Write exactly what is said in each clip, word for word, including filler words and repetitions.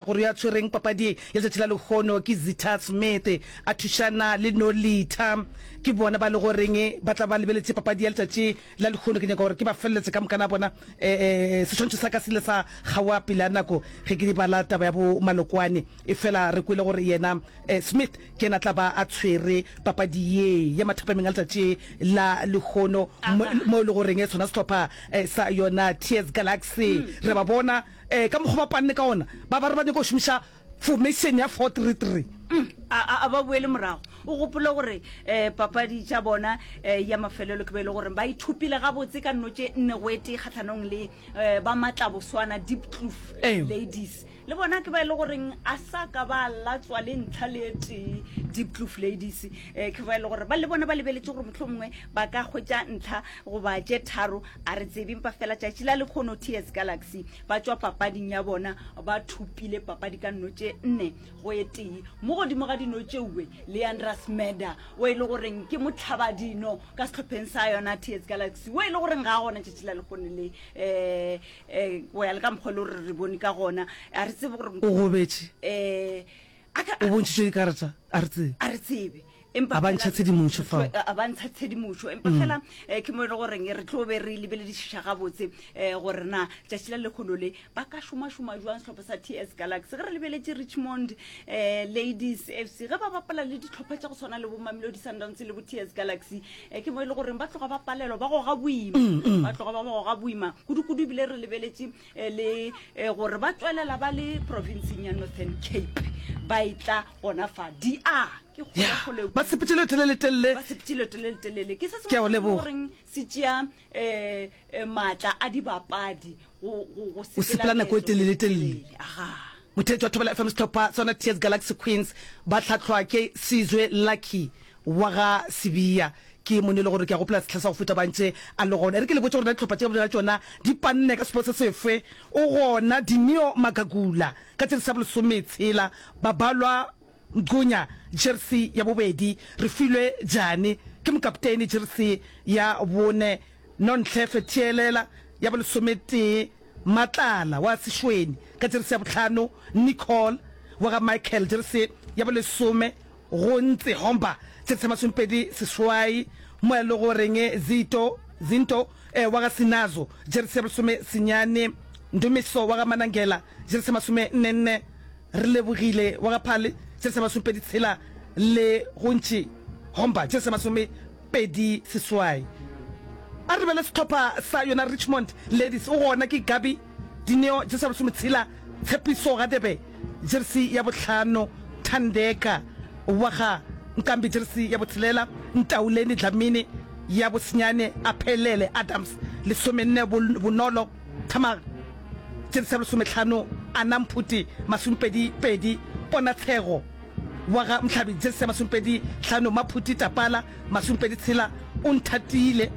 Gore yo a tshwereng papadi ya letšatši la lehono ke Zitha Smith a thušana le Nolitha. Ke bona ba le goreng ba tla ba lebeletše papadi ya letšatši la lehono. Ke nyaka gore ke ba feleletse ka mokana bona. E, e, seswantšho sa ka se ile sa kgaoga pele a nako ge ke bala taba ya bo Malokwane. Efela re kwele gore yena e, Smith ke yena tla ba a tshwere papadi ye ya mathapameng a letšatši la lehono mo, mo e le goreng sona sehlopha e, sa yona T S Galaxy re ba bona eh ka mokgwa ba panne ka ona, ba ba re ba nyaka go šomiša formation ya four three three. A a ba boele morago, o gopole gore um papadi tša bona um ya mafelelo ke ba e le gore ba ithupile gabotse ka nno tše nne go etee kgatlhanong le um ba Matlaboswana Diepkloof Ee. Ladies. Le bona ke ba e le goreng a sa ka ba latswa le ntlha le tee Diepkloof Ladies, um ke ba e le gore ba le bona ba lebeletše gore motlho mongwe ba ka hwetša ntlha goba tše tharo, a re tsebe. Empa fela tšatši la lekgono T S Galaxy ba tšwa papading ya bona ba thupile papadi ka nno tše nne go e tee. Mo godimo ga dino tšeuwe le Andras Meda o e le goreng ke motlhabadino ka sehlopheng sa yona T S Galaxy, o e le goreng ga a gona tšatši la lekgono le, um um go ya le ka mokgwa e le gore re bone ka gona, a re tsebe gore o gobetše, um a ka o bontšhitšwe dikarata, a re tsebe. A re tsebe, empa A ba ntšha fela- tshedimošo fao. A ba ntsha tshedimošo, empa fela um ke mo e le goreng re tlo be re lebeledišiša gabotse um gore na tšatši la lekgono le ba ka šomašoma jwang sehlopha sa T S Galaxy. Ge re lebeletše Richmond um Ladies F C ge ba bapala le ditlhopha tša go tshwana le bo Mamelodi Sundowns le bo T S Galaxy, um ke mo e le goreng ba tloga ba palelwa, ba goga boima, ba tloga ba goga boima kudu-kudu, ebile re lebeletše eh, le eh, gore ba tswelela ba le provinceng ya Northern Cape, ba e tla gona fa D R ke ya kgole-kgole. Ba sepetse leeto le letelele. Ba sepetse leeto le letelele, ke se Ke a go sengwe se leboga. goreng se tšea um maatla a dibapadi go go- go O sepela nako e leeto le telele-telele. letelele. Aga. Motheetši wa Thobela F M, sehlopha sona T S Galaxy Queens ba hlahlwa ke Sizwe Lucky wa ga Sibiya. Ke mone e le gore ke a gopola sehla sa go feta ba ntše a le gona. E re ke le botše gore na dihlopha tše ka bobedi ga tšona di panne ka sepo se sefe. O gona Dineo Magagula ka jeresi ya bolesometshela, Babalwa Mqunya jeresi ya bobedi, Refilwe Jane ke mokaptene jeresi ya bone, Nonhle Fetielela ya bolesometee, Matlala wa Sešweni ka jeresi ya bohlano, Nicole wa ga Michael jeresi ya bolesome, Gontse Homba jeresi ya masomepedi seswai, mo e le goreng Zito Zinto wa ga Sinazo jeresi ya bolesome senyane, Ndumiso wa ga Manangela jeresi ya masome nne nne, Relebogile wa ga Phale jeresi ya masomepedi tshela le Gontši Homba jeresi ya masomepedi seswai. A re lebelele sehlopha sa yona Richmond Ladies, o gona ke Gabi Dineo jeresi ya bolesometshela, Tshepiso Radebe jeresi ya bohlano, Thandeka wa ga Nkambi jeresi ya botshelela, Ntauleni Dlamini ya bosenyane, Aphelele Adams lesomenne, Bonolo Thamaga jeresi ya bolesomehlano, Anna Mphuti masomepedi pedi, Ponatshego wa ga Mhlabi jeresi ya masomepedi hlano, Maphuti Tapala masomepedi tshela, O Nthatile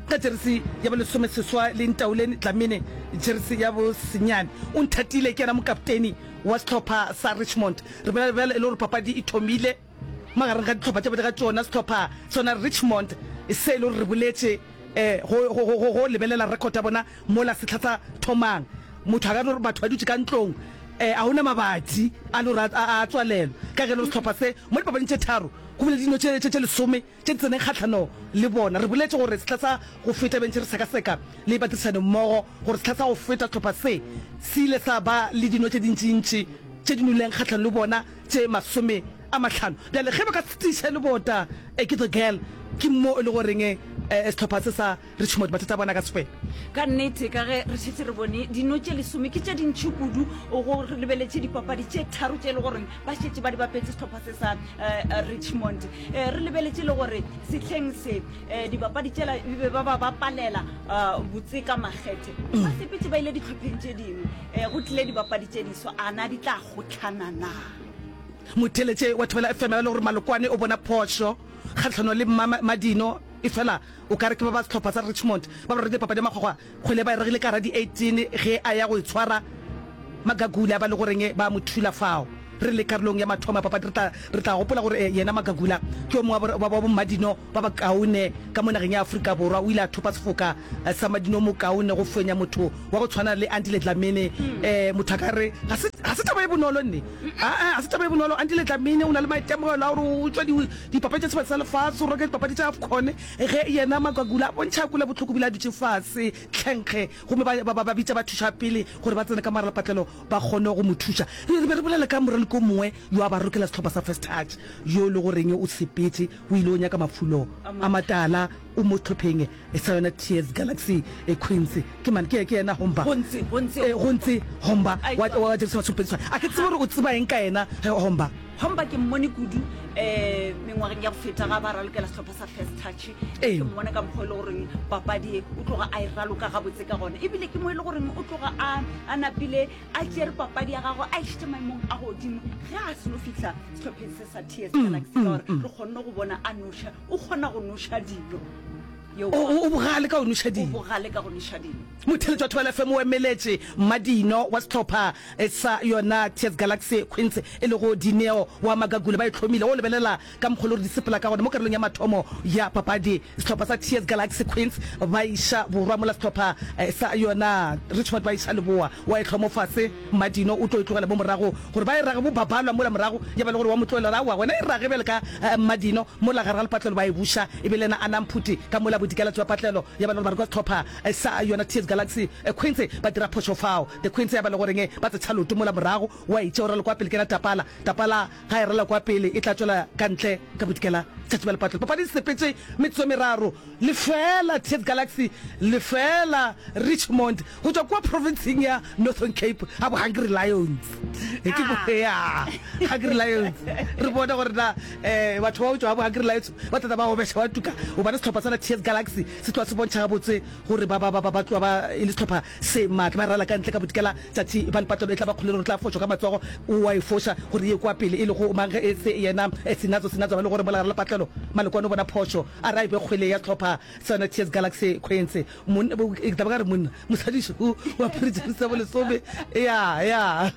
ka jeresi ya bolesomeseswa le Ntauleni Dlamini jeresi ya bosenyane. O Nthatile ke yena mokapteni wa sehlopha sa Richmond. Re bolela bjale e le gore papadi e thomile magareng ga dihlopha tše pedi ga tšona, sehlopha sona Richmond se e le gore re boletše go, go, go, go lebelela record ya bona mola sehla sa thomang. Motho a ka no re batho ba dutše ka ntlong, a go na mabati a le gore a, a tswalelwa, ka ge e le gore sehlopha se mo dipapading tše tharo go bile dino tše, tše, tše lesome tše di tseneng kgahlano le bona. Re boletše gore sehla sa go feta be ntše re sekaseka le badirišanimmogo gore sehla sa go feta sehlopha se se ile sa ba le dino tše dintšintši tše di noleng kgahlano le bona tše masome a mahlano. Bjale ge ba ka se tiiše lebota ke The Girl, ke mo e le goreng sehlopha se sa Richmond mathata a bona a ka se fele. Ka nnete, ka ge re šetše re bone, dino tše lesome ke tše dintši kudu go re lebeletše dipapadi tše tharo tše e le goreng ba šetše ba di bapetše sehlopha se sa Richmond. Re lebeletše le gore sehleng se dibapadi tšela e be ba ba bapalela botse ka makgethe, ba sepetše ba ile dihlopheng tše dingwe, go tlile dibapadi tše diswa, a na di tla kgohlana na? Motheeletše wa Thobela F M a le gore Malokwane o bona phošo kgahlano le Mmadino, efela o ka re ke ba ba sehlopha sa Richmond ba ba rerile papadi ya makgwakgwa, kgwele ba e ragile ka gara di eighteen ge a ya go e tshwara Magagula ba le goreng ba mo thula fao. Re le karolong ya mathomo ya papadi, re tla, re tla gopola gore yena Magagula ke yo mongwe wa wa bommadino ba bakaone ka mo nageng ya Afrika Borwa. O ile a thopa sefoka sa madino mokaone go fenya motho wa go tshwana le Andile Dlamini. Um motho a ka re ga se, ga se taba e bonolo nne. Aa, ga se taba e bonolo. Andile Dlamini o na le maitemogelo a gore o tšwa di, dipapadi tša Sebata sa Lefase, o raloka dipapadi tša AFCON. Ge yena Magagula a bontšha a kwele bohloko bile a dutše fase tlhenkge, gomme ba, ba, ba bitša bathuša pele gore ba tsene ka maralapatlelo ba kgone go mo thuša. Re be re bolela ka moraloki o mongwe yo a ba rokela sehlopha sa First Touch, yo e le goreng o sepetše, o ile o nyaka mafulo a matala, o mo sehlopheng sa yona Tears Galaxy Queens. Ke mang? Ke, ke yena Homba. Gontse, Gontse Homba. Gontse Homba wa, wa Jerusalema Masomepedi Seswai. A ke tsebe gore o tseba eng ka yena, Homba. Homba ke mmone kudu um mengwageng ya go feta ga ba ralokela sehlopha sa First Touch. Ee. Ke mmone ka mokgwa e le goreng papadi e o tloga a e raloka gabotse ka gona, ebile ke mo e le goreng o tloga a, a napile a tšere papadi ya gagwe a išitše maemong a godimo ge a seno fihla sehlopheng se sa T S Galaxy, ka gore re kgonne go bona a noša, o kgona go noša dino. Yo, O, o, o bogale ka go noša o dino. bogale ka go noša dino. Motheeletši wa Thobela F M o emeletše Mmadino wa sehlopha sa yona T S Galaxy Queens e lego Dineo wa Magagula ba e hlomile. O lebelela ka mokgwa le gore di sepela ka gona mo karolong ya mathomo ya papadi. Sehlopha sa T S Galaxy Queens ba iša borwa mola sehlopha sa yona Richmond ba iša leboa. Wa e hlomo fase Mmadino o tlo e tlogela mo morago gore ba e rage bo babalwa mola morago ya ba le gore wa mo tlohela gore aowa wena e rage bjale ka Mmadino mola gare ga lepatlelo ba e buša e be le yena a Namphuti ka mola bodikela tšwa patlelo ya ba le gore ba re kwa sehlopha sa yona T S Galaxy Queens ba dira phošo fao. The Queens ya ba le goreng ba tsetšha leoto mola morago wa e tšea o rala kwa pele ke yena Tapala. Tapala ga e rala kwa pele e tla tšwela ka ntle ka bodikela tšatši ba lepatlelo. Papadi e sepetše metsotso e meraro lefeela T S Galaxy lefeela Richmond go tšwa kua provinceng ya Northern Cape ga bo Hungry Lions. Ke bo ya Hungry Lions. Re bone gore na eh batho ba go tšwa ga bo Hungry Lions ba tla tla ba obeša ba tuka gobane sehlopha sela T S Galaxy se tloga se bontšha gabotse gore ba ba ba ba tloga ba e le sehlopha se maatla. Ba rala ka ntle ka bodikela tšatši ba lepatlelo e tla ba kgole le gore tla fošwa ka matsogo o wa e foša gore ye kwa pele e lego mang ge e se yena Sinazo. Sinazo ba le gore mola gare lepatlelo Malekwane o bona phošo a re a e be kgwele ya sehlopha sa yona T S Galaxy Queens. Monna ke tla ba ka re monna mosadi šo o apere jeresi ya bolesome ya ya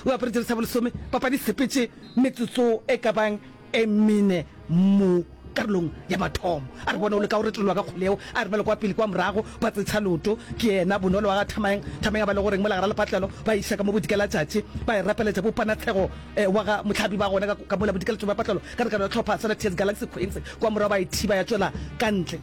o apere jeresi ya bolesome. Papadi e sepetše metsotso e ka bang e mene mo karolong ya mathomo. A re bona o leka go retologa ka kgole yeo, a re bale kwa pele kwa morago, ba tsetsha leoto. Ke yena Bonolo wa ga Thamang. Thamang a ba le goreng mola gara lepatlelo, ba iša ka mo bodikela tšatši, ba e rapeletša bo Panatshego wa ga Mohlabi ba gona ka, ka mola bodikela tšatši ba patlelo ka tekano ya hlopha sa T S Galaxy Queens. Kwa morago ba e thiba ya tšwela ka ntle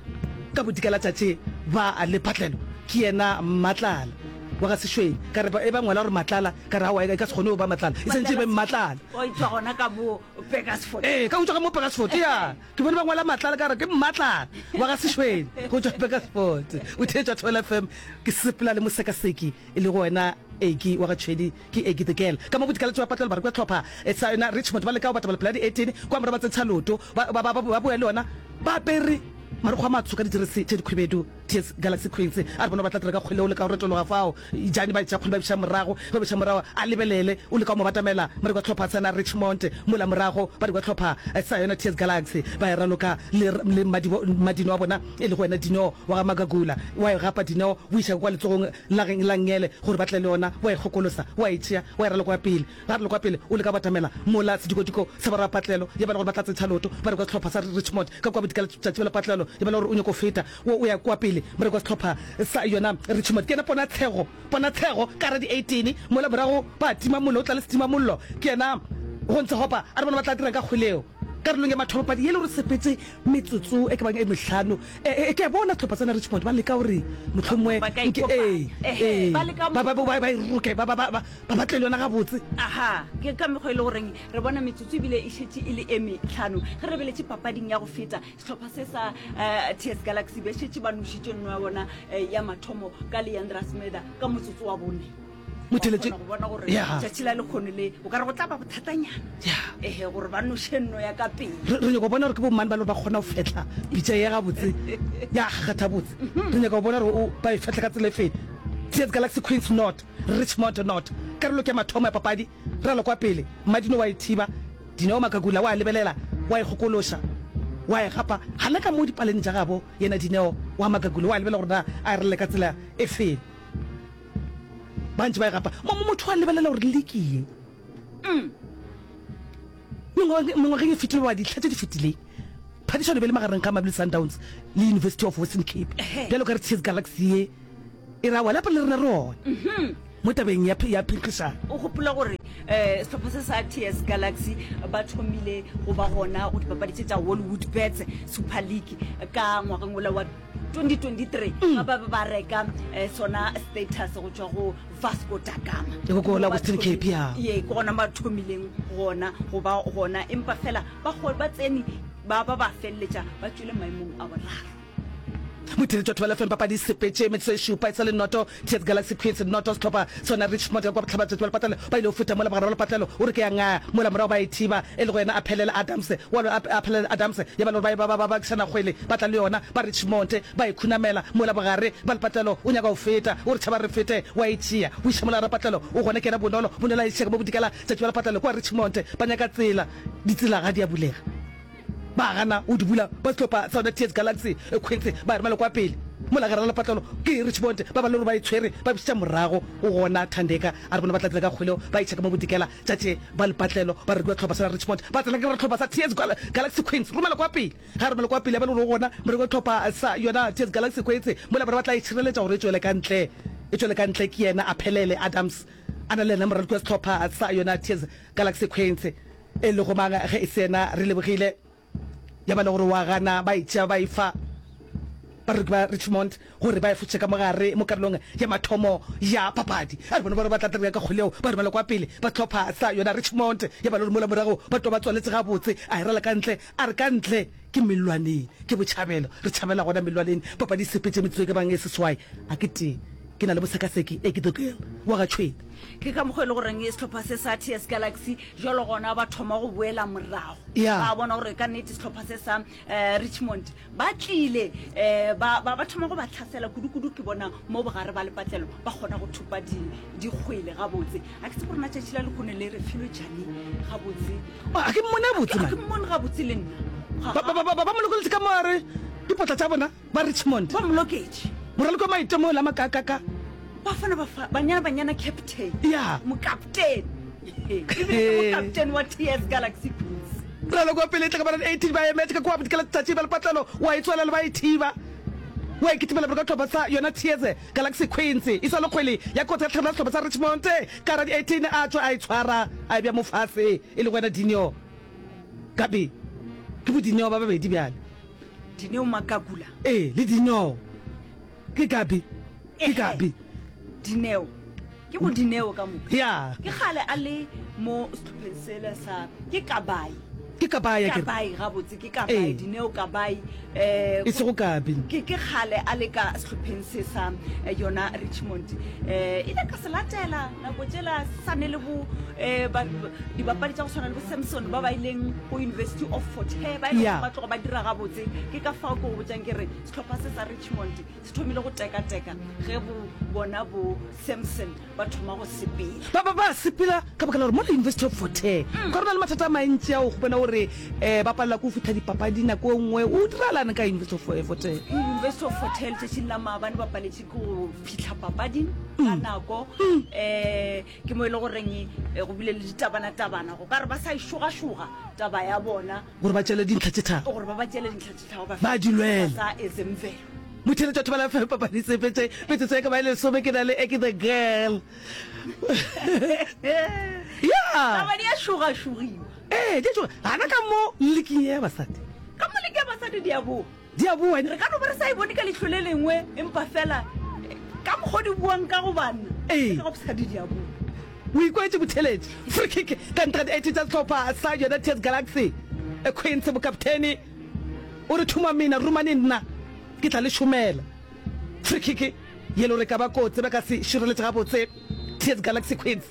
ka bodikela tšatši ba lepatlelo. Ke yena Mmatlala wa ga Sešweng. Ka re ba, e ba ngwala gore Matlala, ka re aowa e ka se kgone go ba Matlala, e santše e be Mmatlala. O e tšwa gona ka mo Burgersfort. Ee, ka go tšwa ka mo Burgersfort, ya. Ke bone ba ngwala Matlala, ka re ke Mmatlala wa ga Sešweng go tšwa Burgersfort. O theetša Thobela F M, ke sepela le mosekaseki e lego wena Eki wa ga Tšhwedi, ke Eki the Girl. Ka mo bodikalatši ba patlelo ba re kwa hlopha sa yona Richmond ba leka go batamela pela di-eighteen, kwa morago ba tsentšha leoto, ba, ba, ba, ba boya le yona ba apere marokgo a matsho ka dijeresi tše dikhwibedu. T S Galaxy Queens a re bona ba tla dira ka kgwele, o leka go retologa fao, Jane ba tšea kgwele ba biša morago, ge ba biša morago a lebelele, o leka go mo batamela, ba re kwa hlopha sa na Richmond, mola morago ba re kwa hlopha sa yona T S Galaxy, ba e raloka le, le Madibo, Madino wa bona e lego wena Dineo wa ga Magagula, wa e gapa Dineo o iša kwa letsogong la, la nngele gore ba tle le yona, wa e kgokolosa, wa e tšea, wa e raloka kwa pele. Ga re le kwa pele, o leka go batamela mola sedikodiko sa borapatlelo, ya ba le gore ba tla tsentšha leoto, ba re kwa sehlopha sa Richmond ka kua bodikela tšatši ba lepatlelo, ya ba le gore o nyako feta, wo o ya kua pele, ba re kwa sehlopha sa yona Richmond. Ke yena Ponatshego, Ponatshego ka gare di-eighteen, mola morago ba tima mollo, o tla le setimamollo, ke yena Gontsegopa, a re bona ba tla dirang ka kgwele yeo. Karolong ya mathomo padi ye le gore sepetse metsotso e ka bang e mehlano, e, e, ke a bona sehlopha sa Richmond ba leka gore mohlomongwe Ba ka nke, ee, ikopanya. Ehe, ee, ba leka ba, ba, ba, ba e roke, ba, ba, ba, ba, ba batle le yona gabotse. Aha, ke ka mekgwa e le goreng re bona metsotso ebile e šetše e le e mehlano. Ge re lebeletše papading ya go feta, sehlopha se sa eh, T S Galaxy be šetše ba nošitše nno ya bona eh, ya mathomo ka Leandra Smeda ka motsotso wa bone. Motheletše, Wa kgona go bona gore ya. tšatši la lekgono le o ka re go tla ba bothatanyana. Ya. Ehe, gore ba noše nno ya ka pele. Re, re nyaka go bona gore ke bomang ba le gore ba kgona go fehla pitša ye gabotse, ya kgakgatha botse. Re nyaka go bona gore o, ba e fehla ka tsela e feng. T S Galaxy Queens not, Richmond not. Karolo ke ya mathomo ya papadi, ralo kwa pele, Mmadino wa e thiba, Dineo Makakula wa lebelela, wa e kgokološa, wa e gapa, gana ka mo dipaleng tša gabo, yena Dineo wa Makakula wa lebelela gore na a e ralele ka tsela e feng. Ba ntše ba e gapa. Mo, mo motho wa lebelela gore liki ye. Mm. Mengwageng e fetilego goba dihla tše di fetileng, phadišano e be e le magareng ga Mamelodi Sundowns le University of Western Cape. Bjalo ka re T S Galaxy ye e ra wela pele le rena re gona mo tabeng ya ya phenkgišano. O gopola gore um sehlopha se sa T S Galaxy ba thomile go ba gona go dipapadi tše tša Hollywood Bets Super League ka ngwageng wola wa twenty twenty-three ga ba be ba reka eh, sona status go tšwa go Vasco da Gama. Ke ko la Western Cape, ya. Ye, ke gona ba thomileng gona go ba gona, empa fela ba ba tsene ba ba ba feleletša ba tšwele maemong a boraro. Motheeletši wa Thobela F M papadi e sepetše metsotso e šupa e sa le noto T S Galaxy Queens noto sehlopha sona Richmond ka kua bohlabatšatši ba lepatlelo ba ile go feta mola bogare ba lepatlelo o re ke ya ngaya mola morago ba e thiba e lego yena Aphelele Adams wa Aphelele Adams ya ba le gore ba ba ba bakišana kgwele ba tla le yona ba Richmond ba e khunamela mola bogare ba lepatlelo o nyaka go feta o re tšhaba re fete wa e tšea o iša mola rapatlelo o gona ke yena Bonolo Bonolo a e tšea ka mo bodikela tšatši ba lepatlelo kua Richmond ba nyaka tsela ditsela ga di a bulega. Ba gana go di bula ba sehlopha sa yona T S Galaxy Queens ba e romela kwa pele mola gare ga lepatlelo ke Richmond ba ba le gore ba e tshwere ba bušetša morago go gona Thandeka a re bona ba tla tsela ka kgwele ba iša ka mo bodikela tša tše ba lepatlelo ba re kua sehlopha sa Richmond ba tsena ka sehlopha sa T S Galaxy Queens romela kwa pele ga romela kwa pele ya ba le gore go gona moreko wa sehlopha sa yona T S Galaxy Queens mola ba re ba tla e tšhireletša gore e tšwele ka ntle e tšwele ka ntle ke yena Aphelele Adams a na le yena moraloki wa sehlopha sa yona T S Galaxy Queens e lego mang ge e se yena Relebogile ya ba le gore wa gana ba e tšea ba e fa bareki ba Richmond gore ba e fotše ka mogare mo karolong ya mathomo ya papadi. A re bona ba re ba tla tla ka kgwele yeo ba romela kwa pele ba hlopha sa yona Richmond ya ba le gore mola morago ba tloga ba tswaletše gabotse a e rala ka ntle a re ka ntle ke mellwaneng ke botšhabelo re tšhabela gona mellwaneng papadi e sepetše metsotso e ka bang e seswai a ke tee ke na le bosekaseki e ke the girl wa ga Tšhwene. Ke ka mokgwa e le goreng sehlopha se sa T S Galaxy jalo gona ba thoma go boela morago. Yeah. Ba bona gore ka nnete sehlopha se sa eh, Richmond ba tlile eh, ba, ba, ba thoma go ba tlhasela kudu-kudu. Ke bona mo bogare ba lepatlelo ba kgona go thopa di, dikgwele gabotse. A ke tsebe gore na tšatši la lehono le re filwe jane gabotse. A ke mmone gabotse, A man. ke mmone gabotse le nna. Ga- Ba, ba, ba, ba, ba mo lokolotše ka moare dipotla tša bona ba Richmond. Ba mo loketše. Moraloki wa maitemogelo a makakaka. Bafana bafa, Banyana Banyana captain. Ya. Mokaptene. Ebile ke mokaptene wa T S Galaxy Queens. Moraloki wa pele e tla ka ba eighteen ba emetše ka kua bodikela letšatši ba lepatlelo wa e tswalela ba e thiba. Wa e kitimela pele ka hlopha sa yona T S Galaxy Queens. E sa le kgwele ya kotsi ya tlhagelo ya sehlopha sa Richmond. Ka ra di eighteen a tšwa a e tshwara a e bea mo fase e lego yena Dineo Gabi. Ke bo Dineo ba babedi bjale. Dineo Makakula. Ee, le Dineo. Ke Gabi. Ke Gabi. Dineo. Ke bo Dineo ka moka. Ya. Ke kgale a le mo sehlopheng sela sa ke Kabai. Ke Kabai ya ke. Kabai gabotse ke Kabai Dineo Kabai eh e sego Gabi. Ke ke kgale a le ka sehlopheng se sa yona Richmond. Eh ile ka se latela nako tšela se sa ne le bo eh ba dibapadi tša go tshwana le bo Samson ba ba ileng go University of Fort Hare ba ile ba tloga ba dira gabotse. Ke ka fao ke go botšang ke re sehlopha se sa Richmond se thomile go tekateka ge bo bona bo Samson ba thoma go sepela. Ba ba ba sepela ka baka la gore mola University of Fort Hare ka re na le mathata a mantši ao go bona gore um ba palela ke go fihla dipapadi nako e nngwe. O diralane ka University of Fort Hare? University of Fort Hare letšatšing la maabane ba paletše ke go fihla papading ka nako. Um ke mo e le goreng go bile le ditabanatabana go ka re ba sa e šogašoga taba ya bona. Gore ba tšele dintlha tše tharo. Gore ba ba tšele dintlha tše tharo ba Ba di lwela. Sa Ezemvelo. Motheeletši wa Thobela F M papadi sepetše metsotso e ka ba e lesome ke na le Eke the girl. Ya. Taba di a šogašogiwa. Ee, di a šoga. Gana ka mo leking ya basadi. Ka mo leking ya basadi di a boa. Di a boa. Re ka no ba re sa e bone ka leihlo le lengwe empa fela ka mokgwa di buang ka go banna. Ee. Ka go basadi di a boa. O ikwetše motheeletši. Free kick ka ntle ga di eighteen tša sehlopha sa yona T S Galaxy. Queens mokaptene o re thuma mina romane nna ke tla le šomela. Free kick ye le gore e ka ba kotsi ba ka se šireletše gabotse T S Galaxy Queens.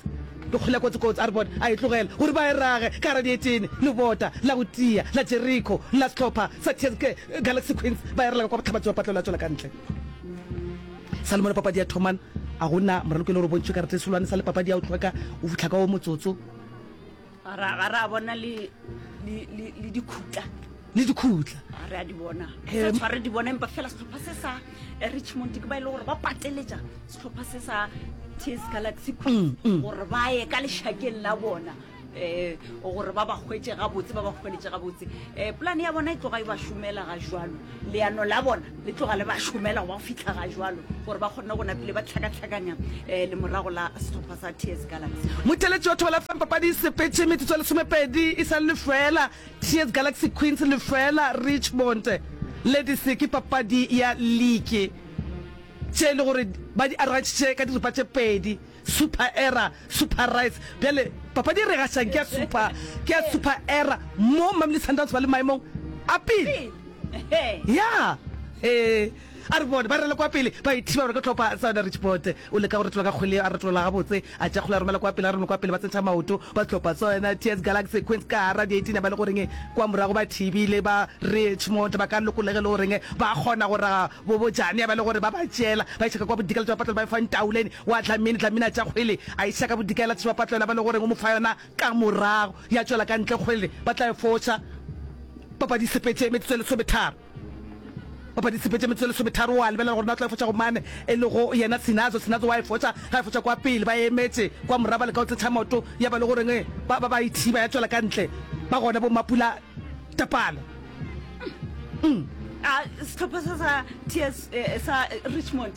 Ke kgwele ya kotsi kotsi a re bone a e tlogela gore ba e rage ka gara dietene lebota la go tia la Jericho la sehlopha sa T S Galaxy Queens ba e rela ka kwa bohlabatši ba patlelo ya tšwela ka ntle. Salomone papadi ya thomana a go na moraloki e le gore o bontšhwe karata e solwane sa le papadi ya go hlweka o fihla ka wo motsotso. Ga ra ga ra bona le le le le dikhutla. Le dikhutla. Ga re a di bona. Sa tshware di bona empa fela sehlopha se sa Richmond ke ba ile gore ba pateletša sehlopha se sa T S Galaxy Queens gore ba ye ka lešakeng la bona. um gore ba ba hwetše gabotse, ba ba hweletše gabotse. Um polane ya bona e tloga e ba šomela ga jwalo, leano la bona le tloga le ba šomela go ba fihla ga jwalo, gore ba kgone go napile ba tlhakatlhakanya um lemorago la sehlopha sa T S Galaxy. Motheeletši wa Thobela F M, papadi e sepetše metsotso e lesomepedi e sa le lefeela, T S Galaxy Queens lefeela, Richmond Ladies ke papadi ya liki tše e le gore ba di arogantšhitše ka diripa tše pedi, Super Era, Super Rice. Bjale papadi e re gašang ke ya Super, ke ya Super Era mo Mamelodi Sundowns ba le maemong a pele. Ya, ee, a re bone ba rele kwa pele, ba ithiba gore ke hlopha sa yona Richmond. O leka go retola ka kgwele, a retola gabotse, a tšea kgwele a romela kwa pele, a romela kwa pele, ba tsentšha maoto ba hlopha sa yona T S Galaxy Queens ka gara di-eighteen ba le goreng kwa morago ba thibile ba Richmond ba ka lokolege le goreng ba kgona go raga bo bojane ba le gore ba ba tšeela ba iša ka kwa bodikela tša bapatlelo ba e fa Ntaoleni wa Dlamini, Dlamini a tšea kgwele a iša ka bodikela tša bapatlelo ba le goreng o mo fa yona ka morago ya tšwela ka ntle kgwele ba tla e foša. Papadi e sepetše metsotso e lesometharo. Papadi e sepetše metsotso e lesometharo. O a lebelela gore na o tla e foša go mane, e lego yena Sinazo. Sinazo wa e foša. Ga e foša kwa pele, ba emetše kwa morago, ba leka go tsetšha maoto, ya ba le goreng ba, ba, ba e thiba, ya tšwela ka ntle. Ba gona bo Mapula Tapala. Mm. A sehlopha sa sa T S, eh, sa Richmond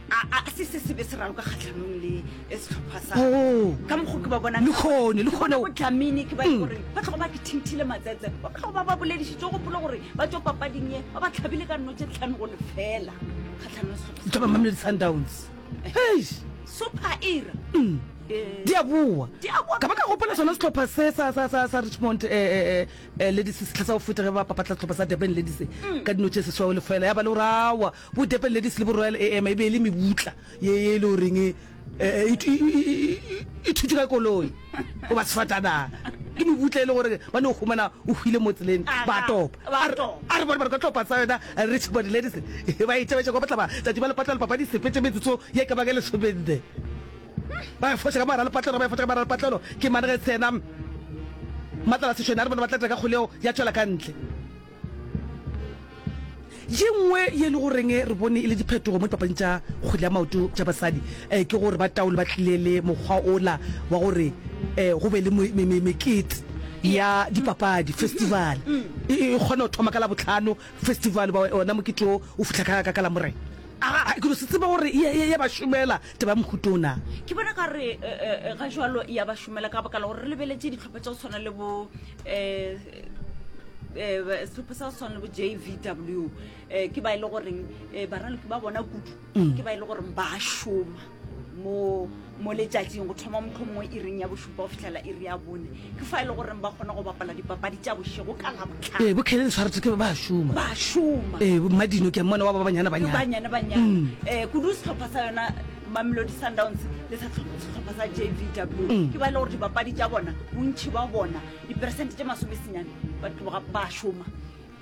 a, a se se se be se raloka kgahlanong le sehlopha sa Oh. ka mokgwa ke ba bonang Le kgone, le Ke bona kgone. bo Dlamini ke ba e Mm. gore ba tloga ba ke thinthile matsetse, ba tloga ba ba boledišitše, o gopole gore ba tšwa papading ye ba ba tlhabile ka nno tše tlhano go lefela kgahlanong le sehlopha sa Tlhopha Mamelodi Sundowns. Hei. Super Era. Mm. Eh. Di a boa. Di a boa. Ka ba ka gopola sona sehlopha se sa, sa, sa, sa Richmond, eh, eh, eh, Ladies sehla sa go feta ge ba papatla sehlopha sa Durban Ladies ka dino tše seswao lefela, ya ba le gore aowa bo Durban Ladies le bo Royal A M e be e le mebutla ye ye e le goreng e, e, e, e thutše ka koloi goba sefatanaga, ke mebutla e le gore ba no humana o hwile mo tseleng ba topa. A re bone ba re ka tlhopha sa yona Richmond Ladies ba e tšabetša kwa bohlaba tšatši ba lepatlelo papadi sepetše metsotso ye ka bang e lesomenne. Ba e foša ka mogare ga lepatlelo, ba e foša ka mogare ga lepatlelo. Ke mane ge tsena Matlala Sešwene a re bone ba tla dira ka kgoleo ya tšwela ka ntle. Ye nngwe ye e le goreng re bone e le diphetogo mo dipapading tša kgwele ya maoto tša basadi ke gore ba taolo ba tlile le mokgwa ola wa gore go be le mekete ya dipapadi, festival. E kgona go thoma ka Labohlano, festival ba ona mokete wo o fihla ka ka Lamorena. A ke no se tsebe gore e ya ba šomela taba ya mohuta o na. Ke bona ka re ga jwalo ya ba šomela ka baka la gore re lebeletše dihlopha tša go tshwana le bo um sehlopha sa go tshwana le bo J V W, um ke ba e le goreng baraloki ba bona kudu, ke ba e le goreng ba šoma mo mo letšatšing go thoma mohlomongwe iring ya bošupa go fihlela iri ya bone, ke fa e le goreng ba kgona go bapala dipapadi tša bošego ka Labohlano. Ee, bo Kellen Swartz ke ba šoma. Ba šoma. Ee, bo Mmadino ke a mmona wa ba banyana banyana. Ke banyana banyana. Eh, kudu sehlopha sa yona Mamelodi Sundowns le sa sehlopha sa J V W, ke ba e le gore dipapadi tša bona, bontši ba bona, diperesente tše masomesenyane ba tloga ba šoma.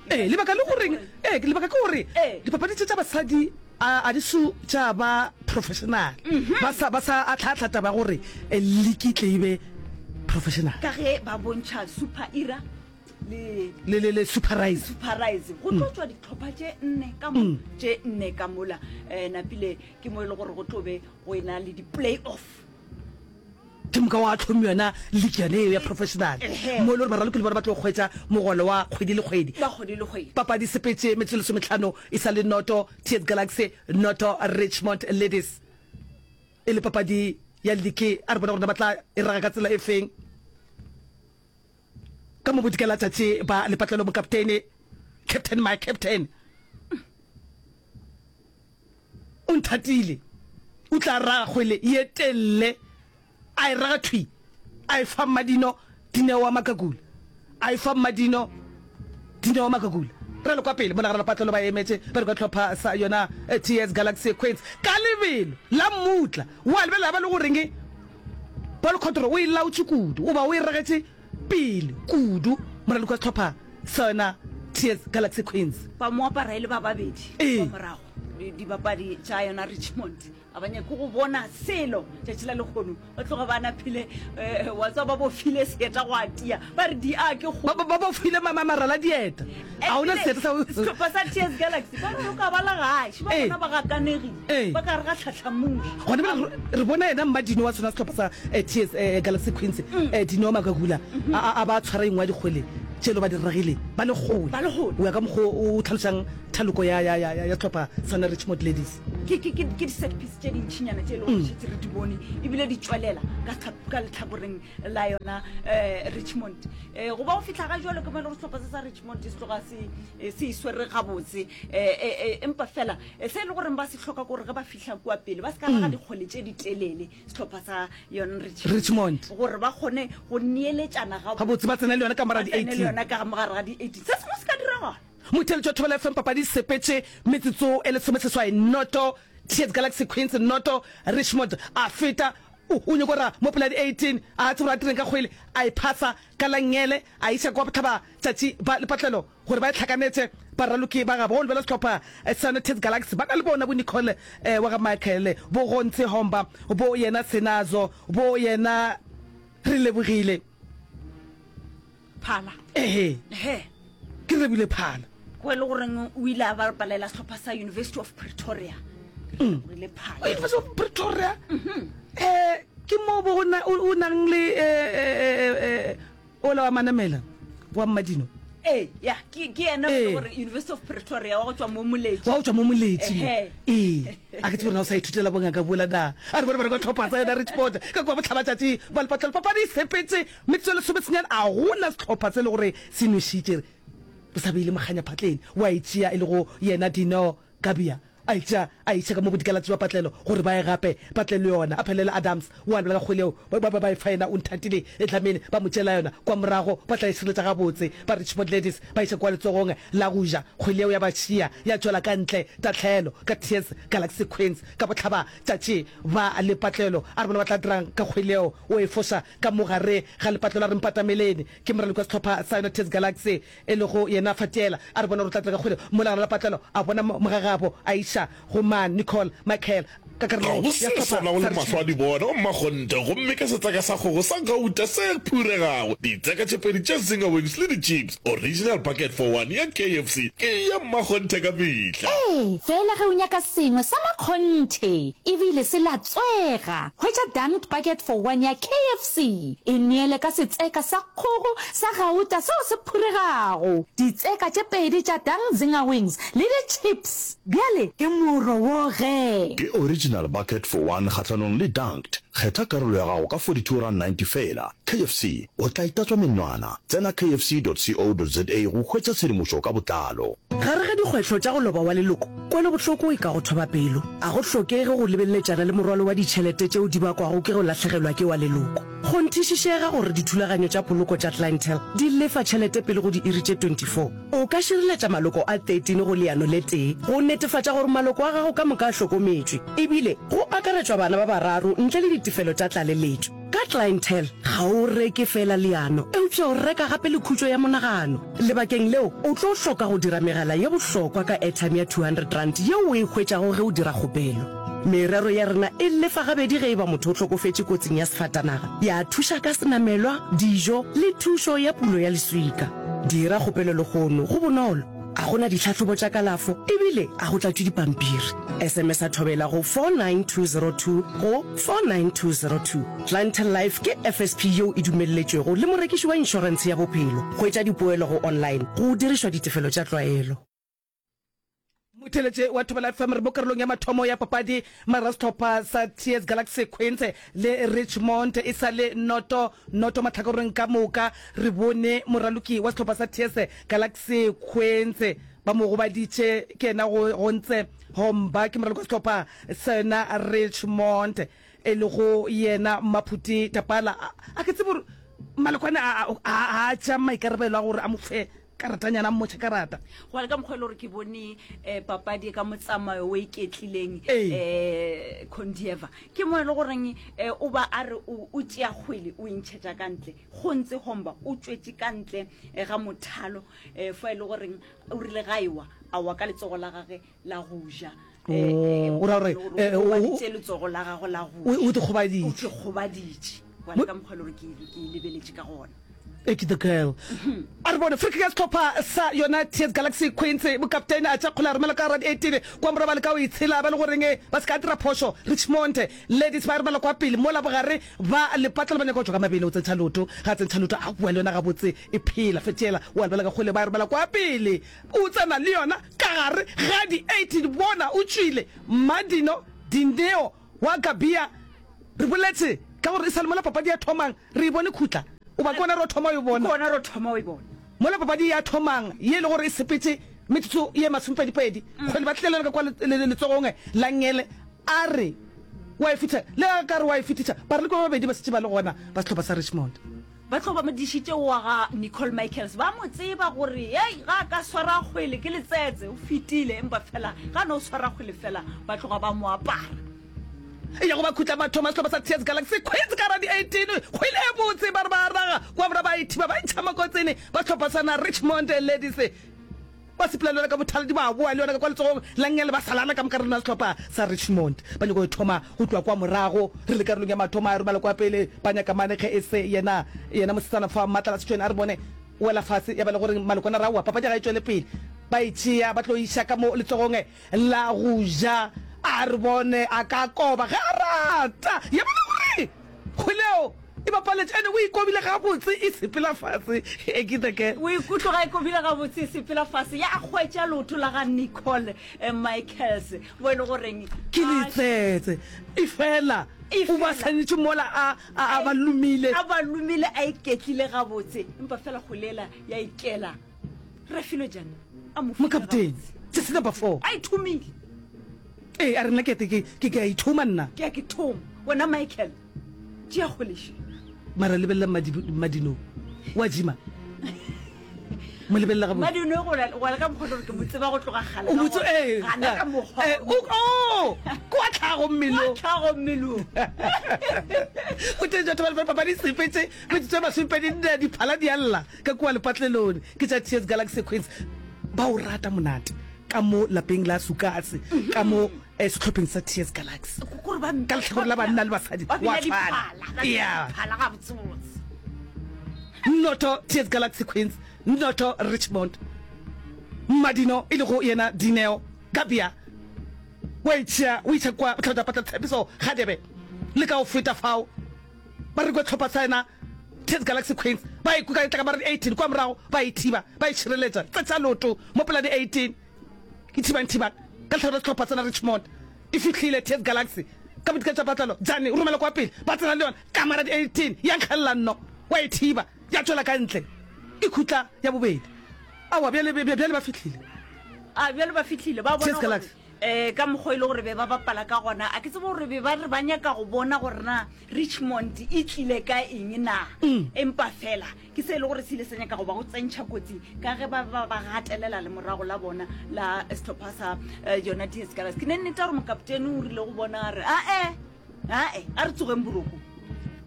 Ee, lebaka le goreng, ee, lebaka ke gore dipapadi tše tša basadi a, a di so tša ba professional. Ba sa, ba sa ahlaahla taba ya gore league e tle e be professional. Ka ge ba bontšha Super Era le, Le, le, le Super Rise. Super Rise. Go tlo tšwa dihlopha tše nne ka mo, tše nne ka mola. Eh, napile ke mo e le gore go tlo be go ena le di-play-off. Ke moka wa tlhomi yona league yone eo ya professional, mo e le gore baraloki le bona ba tlo hwetša mogolo wa kgwedi le kgwedi. Wa kgwedi le kgwedi. Papadi sepetše metsotso lesometlhano e sa le noto T S Galaxy noto Richmond Ladies, e le papadi ya league. A re bone gore na ba tla e raga ka tsela e feng. Ka mo bodikela tšatši ba lepatlelo mokaptene, captain my captain, o nthatile, o tla raga kgwele ye telle, a e raga thwi, a e fa Mmadino Dineo wa Makakula, a e fa Mmadino Dineo wa Makakula. Re le kwa pele mo nagana lepatlelo ba emetše ba re ka hlopha sa yona T S Galaxy Queens ka lebelo la mmutla wa lebelela ba le goreng Paul Cotro o e laotše kudu goba o e ragetše pele kudu moraloki wa sehlopha sa yona T S Galaxy Queens. Ba mo apara e le ba babedi Ee. kwa morago. dibapadi tša yona Richmond a ba nyake go bona selo tšatši la lekgono, ba tloga ba naphile um wa tswa ba bofile seeta go atia ba re di a ke Ba ba bofile marala dieta, ga ona seeta sa sehlopha sa T S Galaxy ba re o ka ba la gaši ba bona ba gakanegile ba ka re ga tlhatlhamuši. Gona bjale re bona yena Mmadino wa sona sehlopha sa T S Galaxy Queens Dineo Makakula a ba tshwara engwe ya dikgwele tšelo ba di ragile ba le kgole o ya ka mokgo o tlhalošang thaloko ya ya ya ya sehlopha sa Richmond Ladies. Ke ke ke di set piece tše dintšinyana tše e lego gore šetše re di bone ebile di tšwelela ka ka lehlakoreng la yona um Richmond. Um go ba go fihla ga jwalo ke mo e le gore sehlopha se sa Richmond se tloga se se iswere gabotse um empa fela se e le goreng ba se hloka ke gore ge ba fihla kua pele ba se ka raga dikgole tše di telele sehlopha sa yona Richmond gore ba kgone go neeletšana gabotse ba tsena le yona ka mogare ga di-eighteen yona ka mogare ga di-eighteen se sengwe se ka diragala. Motheeletši wa Thobela F M papadi sepetše metsotso e lesomeseswai noto T S Galaxy Queens noto Richmond a feta o o nyoko ra mo pela di-eighteen a tsebe gore a direng ka kgwele a e phasa ka la nngele a iša kwa bohlaba tšatši ba lepatlelo gore ba e hlakanetše baraloki ba gabo. Go lebela sehlopha sa T S Galaxy ba na le bona bo Nicole wa ga Michael, bo Gontse Homba, bo yena Senazo, bo yena Re Lebogile Phala. Ehe. Ehe. Ke Rebile Phala. Ko e le goreng o ile a bapalela sehlopha sa University of Pretoria. Re Lebogile Phala. University of Pretoria. Eh ke mo bo o nang le eh ola wa Manamela wa Mmadino. Ee, ya ke ke yena gore University of Pretoria wa go tšwa mo Moletši. Wa go tšwa mo Moletši mo. Ee. A ke tsebe gore na o sa ithutela bongaka bola na. A re bone ba re kwa tlhopha tsa yona Richmond ka kwa bohlabatšatši ba lepatlelo. Papadi e sepetše metsotso e lesomesenyane a gona sehlopha se le gore se nwešitše. Re sa beile mokganya phatleng wa e tšea e lego yena Dineo Kabia. A e tšea a e iša ka mo bodikalatši bja patlelo gore ba ye gape ba tle le yona. A phelele Adams o a lebala ka kgwele yeo ba ba ba e fa yena o nthatile e Dlamini ba mo tšeela yona kwa morago ba tla e šireletša gabotse. Ba Richmond Ladies ba iša kwa letsogong la go ja kgwele yeo ya ba šia ya tšwela ka ntle tahlelo ka T S Galaxy Queens ka bohlaba tšatši ba lepatlelo. A re bona ba tla dirang ka kgwele yeo o e foša ka mo gare ga lepatlelo a re mpatameleni ke moraloki wa sehlopha sa yona T S Galaxy e lego yena Fatiela a re bona gore o tla dira ka kgwele mola gare lepatlelo a bona mogagabo a iša go man Nicole Michael ka Ga karolong go ya se sehlopha swanago sa le mahlo a Richmond. di bona, o mmakgonthe, gomme ka setseka sa kgogo sa gauta se phuregago, ditseka tše pedi tša Zinger Wings le di-chips, original bucket for one ya K F C ke ya mmakgonthe ka mehla. Ee, feela ge o nyaka sengwe sa makgonthe ebile se latswega, hwetša Dunked Bucket for One ya K F C. E neele ka setseka sa kgogo sa gauta seo se phuregago, ditseka tše pedi tša Dunk Zinger Wings le di-chips. Bjale ke moro wo ge. Ke Original Bucket for One kgahlanong le Dunked. Kgetha karolo ya gago ka forty-two rand ninety feela. K F C, o tla itatswa menwana. Tsena K F C dot co dot za go hwetša tshedimošo ka botlalo. Gare ga dikgwetlho tša go loba wa leloko, kwelobohloko e ka go thoba pelo. A go hlokege go lebeletšana le morwalo wa ditšhelete tšeo di bakwago ke go lahlegelwa ke wa leloko. Kgonthišišega gore dithulaganyo tša poloko tša Clientele di lefa tšhelete pele go diiri tše twenty-four. O ka šireletša maloko a thirteen go leano le tee go netefatša gore maloko a gago ka moka a hlokometšwe, ebile go akaretšwa bana ba bararo ntle le ditefelo tša tlaleletšo. Ka Clientele, ga o reke feela leano, eupša o reka gape le khutšo ya monagano. Lebakeng leo, o tlo hloka go dira megala ye bohlokwa ka airtime ya two hundred rand yeo o e hwetšago ge o dira kgopelo. Merero ya rena e lefa gabedi ge e ba motho o hlokofetše kotsing ya sefatanaga, ya thuša ka senamelwa, dijo le thušo ya pulo ya leswika. Dira kgopelo lehono, go bonolo, a go na ditlhahlobo tša kalafo ebile a go tlatšwe dipampiri. S M S a thobela go four nine two zero two go four nine two zero two. Clientele Life ke F S P yeo e dumelletšwego le morekiši wa inšorentshe ya bophelo. Hwetša dipoelo go online go dirišwa ditefelo tša tlwaelo. Motheeletše wa Thobela F M re mo karolong ya mathomo ya papadi mara sehlopha sa T S Galaxy Queens le Richmond e sa le noto noto mahlakoreng ka moka. Re bone moraloki wa sehlopha sa T S Galaxy Queens ba mo gobaditše ke yena go Gontse Homba ke moraloki wa sehlopha sa yona Richmond e lego yena Maphuti Tapala. A ke tsebe gore Malekwane a a a tšea maikarabelo a gore a mo fe karatanyana a mmotšhe karata. Go ya le ka mokgwa e le gore ke bone um papadi ka motsamayo o iketlileng Ee. um Condieva ke mo e le goreng um o ba a re o o tšea kgwele o e ntšhetša ka ntle go ntse Homba o tšwetše ka ntle eh, ga mothalo um fa e le goreng o rile ga ewa a wa ka letsogo la gage la go ja. Oh, o ra gore, eh, o o- gobaditše letsogo la gagwe la go O- o ja. dikgobaditše. O dikgobaditše. Gobane ka mokgwa e le gore ke ke e lebeletše ka gona. Eki the girl. A re bone Frikkie ya sehlopha sa yona Tears Galaxy Queens, mokaptene a tša kgole a romela ka gara di-eighteen kwa morago ba leka go itshela ba le goreng ba se ka dira phošo. Richmond Ladies ba e romela kwa pele mola bogare ba lepatla ba nyaka go tšwa ka mabele o tsentšha loto, ga a tsentšha loto a boa le yona gabotse e phela fetšela o a lebela ka kgole ba e romela kwa pele o tsena le yona ka gare ga di-eighteen bona o tšwile Madino Dineo wa Gabia. Re boletše ka gore e sa le mola papadi ya thomang re e bone khutla. Goba ke gona re thoma o e bona? Ke gona re thoma o e bona. Mola papadi ya thomang ye e le gore e sepetše metsotso ye masomepedipedi, kgwele ba tlile le yona ka kwa letsogong la nngele, a re wa e fetiša, le ge a ka re wa e fetiša, baraloki ba babedi ba šetše ba le gona ba sehlopha sa Richmond. Ba tlo ba mo dišitše wa ga Nicole Michaels, ba mo tseba gore hei, ga a ka swara kgwele ke letsetse, o fetile, empa fela ga a no swara kgwele fela ba tloga ba mo apara. Ya go ba khutla mathomo a sehlopha sa Tears Galaxy Queens ka ra di eighteen kgwele e botse ba re ba raga kwa bora ba ithiba ba ntšha makotsini ba sehlopha sa na Richmond Ladies ba sepela le yona ka bothaladi ba boa le yona ka kwa letsogong la nngele ba salana ka moka re lona sehlopha sa Richmond ba nyaka go thoma go tloga kwa morago re le karolong ya mathomo a romela kwa pele ba nyaka mane ge e se yena yena mosetsana fa Matlala Setšweni a re bone wela fase ya ba le gore malokwana ra wa papadi ga e tšwele pele ba e tšea ba tlo iša ka mo letsogong la go ja A re bone a ka koba ge a rata. Ya bona gore kgwele e bapaletše ene o ikobile gabotse e sepela fase. Ekita ke. O ikutlwa ga e kobile gabotse e sepela fase ya hwetša leoto la ga Nicole Michaels mo e le goreng Ke letsetse. Efela o ba swanetše mola a, a, a ba lomile. A ba lomile a iketlile gabotse empa fela kgwele yela ya ikela. Refilwe Jane a mo file Mokaptene, gabotse. jersey number four. A ithomile. Ee, a re nna ke ke ke ke a ithoma nna. Ke a ke thoma. Wena Michael, tšea kgwele še. Mara lebelela Madino, wa jima. Mo lebelela gabotse. Madino go la go ka mokgwa gore ke mo tseba go tloga kgale. O mo tse ee. Gana ka mokgwa. Eh, o o kwa tlhago mmelong. Kwa tlhago mmelong. O teng jwa thobela papadi sepetse metsotso e masomepedi nne diphala di a lla ka kua lepatlelong ke tša Tears Galaxy Queens. Ba o rata monate. Ka mo lapeng la Sukasi, ka mo eh, sehlopheng sa Tears Galaxy. Kore ba Ka lehlakore la banna le basadi, ba wa bina tshwana. diphala, ba bina Yeah. diphala gabotsebotse. Noto Tears Galaxy Queens, Noto Richmond. Madino e lego yena Dineo Gabia wa itšea o iša kwa botlhatša patla Tshepiso Gadebe le ka go feta fao ba re kwa tlhopha sa yena Tears Galaxy Queens ba e kuka e tla ka ba re eighteen kwa morago ba e thiba ba e šireletša tsetša loto mo pela di eighteen e thibang thibang ka lehlakore la sehlopha sena Richmond e fihlile Tears Galaxy ka bodika tša patlelo Jane o romela kwa pele ba tsena le yona ka mara di eighteen ya nkgelela nno wa e thiba ya tšwela ka ntle e khutla ya bobedi aowa bjale bjale ba fihlile A bjale ba fihlile ba bona Tears gore Galaxy um ka mokgwa e le gore be ba bapala ka gona a ke tsebe gore be ba re ba nyaka go bona gore na Richmond e tlile ka eng na empa fela ke se e le gore se ile sa nyaka go ba go tsentšha kotsing ka ge ba ba ba gatelela le morago la bona la sehlopha sa eh, yona Tears Galaxy ke ne nnete ya gore mokaptene o rile go bona a re ae ae a re tsogeng boroko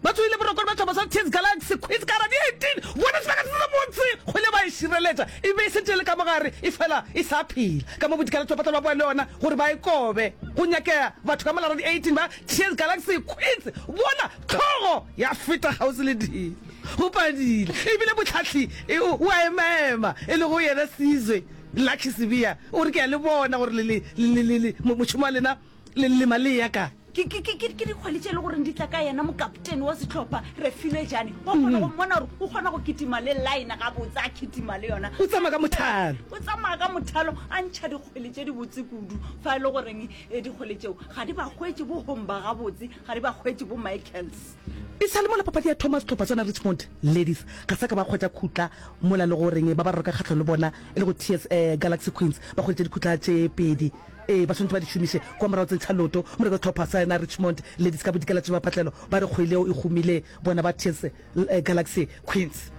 Ba tsogile boroko le ba sehlopha sa Tears Galaxy Queens ka di eighteen bona sebaka se se botse kgwele ba e šireletša e be e šetše e le ka mogare e fela e sa phela ka mo bodikela tšwa ba boa le yona gore ba e kobe go nyakega batho ka mola di eighteen ba Tears Galaxy Queens bona tlhogo ya feta kgauswi le dilo go padile ebile mohlahli e, o a emaema e lego yena Sizwe Lucky Sibiya o re ke a le bona gore le, le, le, le, le, mošomo wa lena le lema le ya kae. Ke, ke, ke, ke, ke dikgwele tše e le goreng di tla ka yena mokaptene wa sehlopha, Refilwe Jane. Wa kgona go mmona gore o kgona go kitima le line gabotse, a kitima le yona. O tsamaya ka mothalo. O tsamaya ka mothalo, a ntšha dikgwele tše dibotse kudu. Fa e le goreng eh, dikgwele tšeo ga di ba hwetše bo Homba gabotse, ga di ba hwetše bo Michaels. E sa le mola papadi ya thoma, sehlopha sona Richmond Ladies ga sa ka ba hwetša khutla mola le goreng ba ba roka kgahlano le bona e le go T S eh, Galaxy Queens ba hweditše dikhutla tše pedi. Ee, ba swanetše ba di šomiše kwa morago tsentšha loto moreka sehlopha sa yena Richmond Ladies ka bodikela tše bapatlelo ba re kgwele yeo e gomile bona ba T S Galaxy Queens.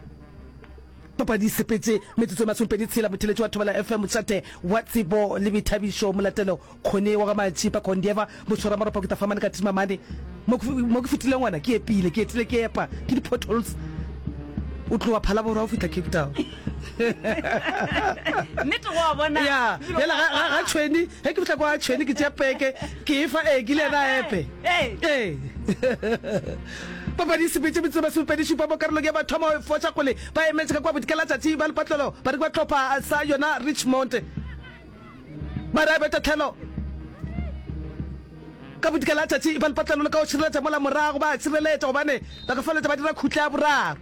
Papadi e sepetše metsotso e masomepedi tshela motheletši wa Thobela F M mošate wa tsebo le boithabišo Molatelo Kgone wa ga Matšipa Kondieva moswaramaropa ke tafamane ka Timamane mo ke mo ke fetileng gona ke epile ke etile ke epa ke di potholes o tloga Phalaborwa go fihla Cape Town. Nnete go a bona. Ya, bjale ga ga ga tšhweni, ge ke fihla kwa tšhweni ke tšea peke, ke e fa Egi le yena a epe. Ee. Papadi e sepetše metsotso e masomepedi šupa mo karolong ya mathomo, e foša kgole ba emetše ka kua bodikela-tšatši ba lepatlelo ba re ke ba hlopha sa yona Richmond. Ba re a be tahlelo ka bodikela-tšatši ba lepatlelo le ka go šireletša mola morago ba a šireletša gobane ba ka feleletša ba dira khutla ya boraro.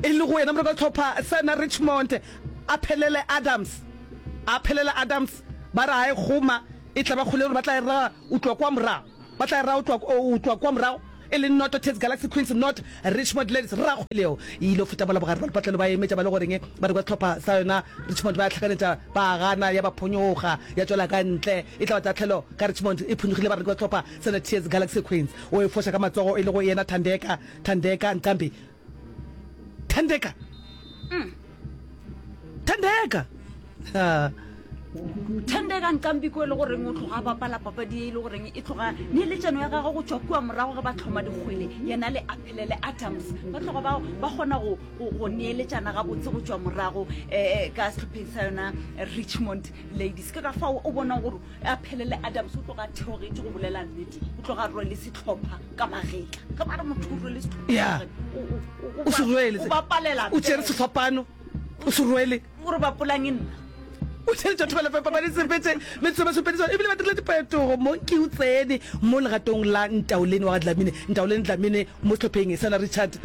E le go yena moreki wa sehlopha sa yona Richmond a phelele Adams. A phelele Adams ba re a e goma e tla ba kgole gore ba tla e raga o tloga kwa morago. Ba tla e raga o tloga kwa morago e le noto Tits Galaxy Queens not Richmond Ladies. Ra kgwele yeo e ile go feta mola bogare ba lepatlelo ba emetša ba le goreng ba re kwa sehlopha sa yona Richmond ba ya hlakanetša ba gana ya ba phonyoga ya tšwela ka ntle e tla ba tahlelo ka Richmond e phonyogile ba re kwa sehlopha sa yona Tears Galaxy Queens o e foša ka matsogo e le go yena Thandeka Thandeka Nqambi Thandeka. Mm. Thandeka. Ha. Thandeka Nkambi ko e le goreng o tloga a bapala papadi e le goreng e tloga neeletšano ya gagwe go tšwa kua morago ge ba tlhoma dikgwele yena le Aphelele Adams ba tloga ba ba kgona go go neeletšana gabotse go tšwa morago um ka sehlopheng sa yona Richmond Ladies ke ka fao o bonang gore Aphelele Adams o tloga a theogetše go bolela nnete o tloga a rwele sehlopha ka magetla ge ba re motho o rwele sehlopha Ya. o O se rwele. o bapalela O tšere sefapano. O se rwele. O re bapolang e nna. O tšere tša thobela papadi sepetse metsotso masomepedi ebile ba dirile diphetogo mo ke o tsene mo legatong la Ntaoleni wa ga Dlamini Ntaoleni Dlamini mo sehlopheng sa Richard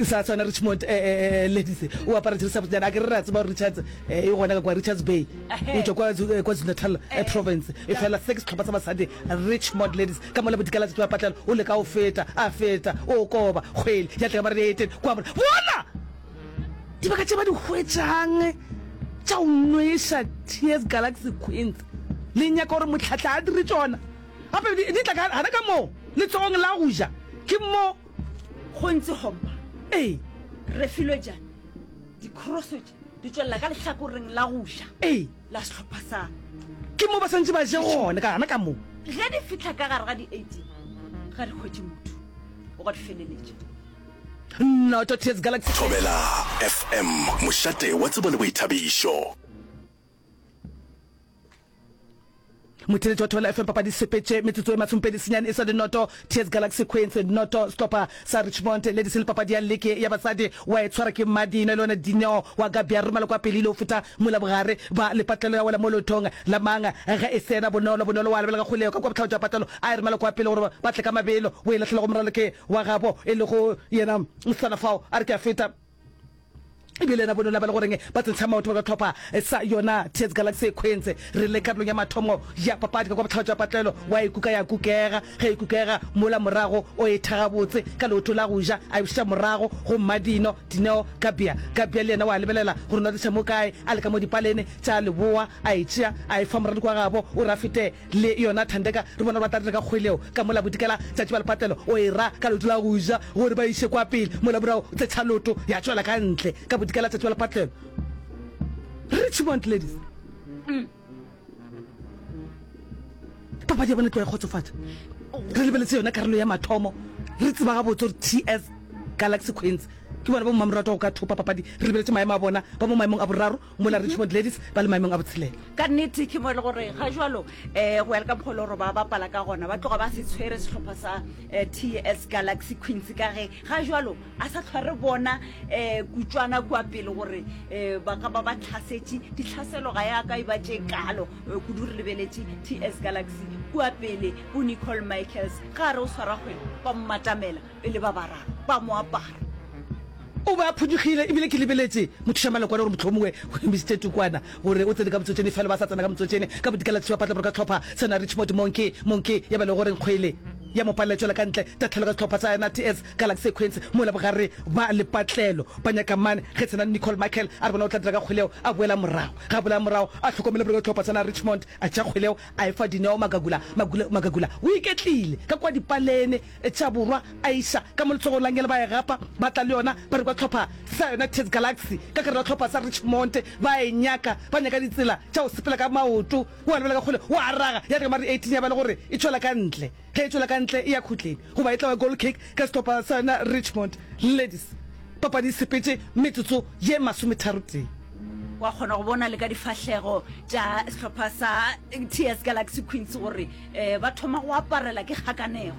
sa sona Richmond eh, eh, eh, ladies o apara jeresi ya botsejana a ke re re a tseba gore Richards eh, e gona ka kwa Richards Bay o tšwa kwa eh, KwaZulu-Natal eh, province e fela se ke sehlopha sa basadi Richmond ladies ka mola bodikela tšatši ba patlelo o leka go feta a feta o koba kgwele ya tla ka mare eteng kwa mora bona dibaka tše ba di hwetšang tša go nweša Tears Galaxy Queens le nyaka gore motlhatla a dire tšona gape di di tla ka gana ka moo letsogong la go ja ke mo Go ntse gompa. Ee. Refilwe Jane, Dikroso tše di tšwelela ka lehlakoreng la go ja Ee. la sehlopha sa. Ke mo ba swantše ba je gona, ka gana ka mo. Ge di fihla ka gare ga di-eighteen, ga di hwetše motho o go di feleletša. Noto Tears Galaxy. Thobela F M, mošate wa tsebo le boithabišo. Motheeletši wa Thobela F M papadi sepetše metsotso e masomepedi senyane e sa le noto Tears Galaxy Queens noto sehlopha sa Richmond Ladies le papadi ya leke ya basadi wa e tshwara ke Mmadino le yona Dineo wa Gabia romela kwa pele ile go feta mola bogare ba lepatlelo ya wela mo leotong la mang ge e sena bonolo bonolo wa lebelela kgoleo ka kwa bohlabo jwa patlelo a e romela kwa pele gore ba tle ka mabelo o e lahlela go moraloke wa gabo e lego yena mosetsana fao a re ke a feta. E bile yena bonolo ba le goreng ba tsentsha maoto ba ka tlhopha sa yona Tears Galaxy Queens. Re le karolong ya mathomo ya papadi ka kwa bohlaba jwa patlelo wa e kuka ya kukega. Ge e kukega mola morago o e tha gabotse ka leoto la go ja a e bušetša morago go Mmadino Dineo Gabia. Gabia le yena wa lebelela gore no tliša mo kae a le ka mo dipalene tša leboa a e tšea a e fa moraloki wa gabo o re a fete Le yona Thandeka re bona gore ba tla dira ka kgwele ka mola bodikela tšatši ba lepatlelo o e ra ka leoto la go ja gore ba iše kwa pele mola morago o tsetšha loto ya tšwela ka ntle ka bodikela tšatši ba lepatlelo. Richmond Ladies. Papadi ya bona e tloga e kgotsofatša. Re lebeletse yona karolo ya mathomo re tseba gabotse gore T S Galaxy Queens ke bona bo mmamoratwa go ka thopa papadi. Re lebeletše maemo a bona ba mo maemong a boraro mola Richmond Ladies ba le maemong a botshelela. Ka nnete ke mo e le gore ga jwalo um go ya le ka mokgwa e le gore ba bapala ka gona ba tloga ba se tshwere sehlopha sa T S Galaxy Queens ka ge ga jwalo a sa hlwa re bona um kutšwana kua pele gore um ba ka ba ba tlhasetše. Ditlhaselo ga ya ka e ba tše kalo kudu re lebeletše T S Galaxy kua pele bo Nicole Michaels ga a re o swara kgwele ba mmatamela e le ba bararo ba mo apara. O be a phonyokgile, ebile ke lebeletše mothušamalokwane gore mohlomongwe o emišitše tukwana gore o tsene ka motsotšene, efela ba sa tsena ka motsotšene. Ka bodikela tšhiwa patla ka hlopha sena Richmond Monkey, Monkey ya ba le gore nkgwele ya mo palela e tšwela ka ntle, tahlelo ka sehlopha sa yona T S Galaxy Queens mola bogare ba lepatlelo ba nyaka mane ge sena Nicole Michael a re bona o tla dira ka kgwele yeo a boela morago. Ge a boela morago a hlokomele gore ka hlopha sena Richmond a tšea kgwele yeo a e fa Dineo Magagula, Magula, Magagula o iketlile ka kua dipalene tša borwa a iša ka mo letsogong la ngele ba e gapa ba tla le yona ba re kwa hlopha sa yona Tears Galaxy ka gare ga hlopha sa Richmond ba e nyaka ba nyaka ditsela tša go sepela ka maoto wa lebela ka kgole wa raga ya re ka mare eighteen ya ba le gore e tšwela ka ntle ge e tšwela ka ntle e ya khutleng goba e tla ba goal kick ka sehlopha sa yona Richmond Ladies. Papadi e sepetše metsotso ye masometharotee. Wa kgona go bona le ka difahlego tša sehlopha sa T S Galaxy Queens gore um ba thoma go aparela ke kgakanego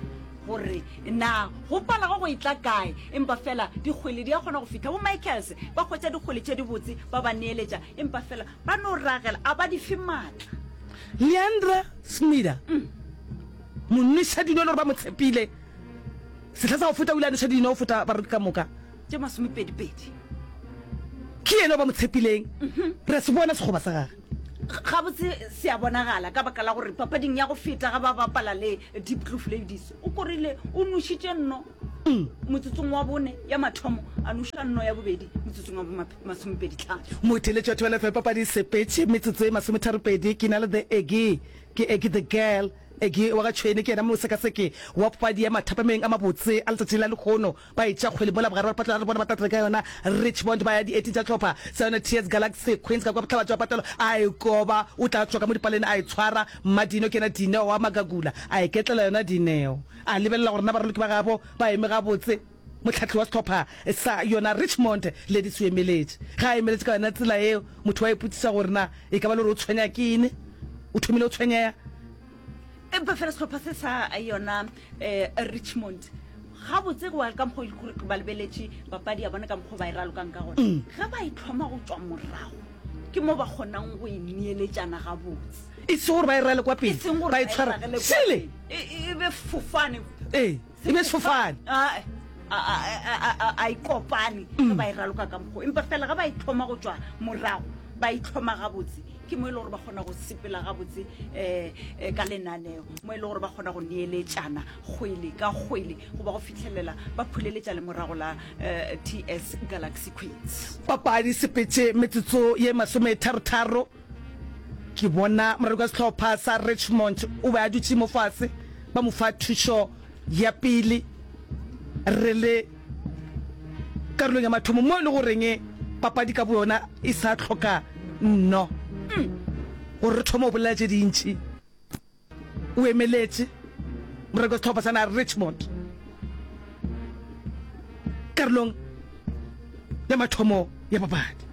gore na go pala go go e tla kae, empa fela dikgwele di a kgona go fihla. Bo Michaels ba hwetša dikgwele tše dibotse ba ba neeletša, empa fela ba no ragela, a ba di fe maatla. Leandra Smida, monwešadino e le gore ba mo tshepile sehla sa go feta, o ile a nweša dino go feta baraloki ka moka. Tše masomepedipedi. Ke yena o ba mo tshepileng. Re a se bona sekgoba sa gage. Gabotse se a bonagala ka baka la gore papading ya go feta ga ba bapala le Diepkloof Ladies, o korile o nošitše nno motsotsong wa bone ya mathomo, a noša nno ya bobedi motsotsong wa masomepedi-tlhano. Motheeletši wa Thobela F M, papadi e sepetše metsotso e masometharopedi. Ke na le The Eggie, ke Eggie the Girl. Eggie wa ga Tšhwene ke yena mosekaseki wa papadi ya mathapameng a mabotse a letšatši la lehono. Ba etša kgwele mola bogare ba patelo a re bona ba tla ka yona Richmond ba ya dieiting tša hlopha sa yona T S Galaxy Queens ka kua bohlabatšo ba patelo a e koba o tla tšwa ka mo dipaleng a e tshwara Mmadino ke yena Dineo wa Magagula a e ketlela yona Dineo a lebelela gore na baraloki ba gabo ba eme gabotse Mohlahli wa sehlopha sa yona Richmond Ladies o emeletše ge a emeletše ka yona tsela yeo motho wa ipotšiša gore na e ka ba le gore o tshwenya ke eng o thomile go tshwenyeya. Empa fela sehlopha se sa yona Richmond gabotse go ya ka mokgwa o gore ba lebeletše papadi ya bona ka mokgwa ba e ralokang ka gona, ge ba e thoma go tšwa morago ke mo ba kgonang go e neeletšana gabotse. E seng gore ba e rale kwa pele, E seng gore ba e ba e tshwara ragele kwa šele. pele. E, e, e be fofane. Ee, e be sefofane. A, a, a, a, a, a e kopane ge ba e raloka ka mokgwa. Empa fela ge ba e thoma go tšwa morago, ba e hloma gabotse, ke mo e le gore ba kgona go sepela gabotse um ka lenaneo, mo e le gore ba kgona go neeletšana kgwele ka kgwele goba go fihlelela ba phuleletša lemorago la um T S Galaxy Queens. Papadi sepetše metsotso ye masometharotharo. Ke bona moraloki wa sehlopha sa Richmond o be a dutše mo fase, ba mo fa thušo ya pele. Re le karolong ya mathomo mo e le goreng papadi ka boyona e sa hloka nno gore re thome go bolela tše dintši. O emeletše moraloki wa sehlopha sa naga Richmond karolong ya mathomo ya papadi.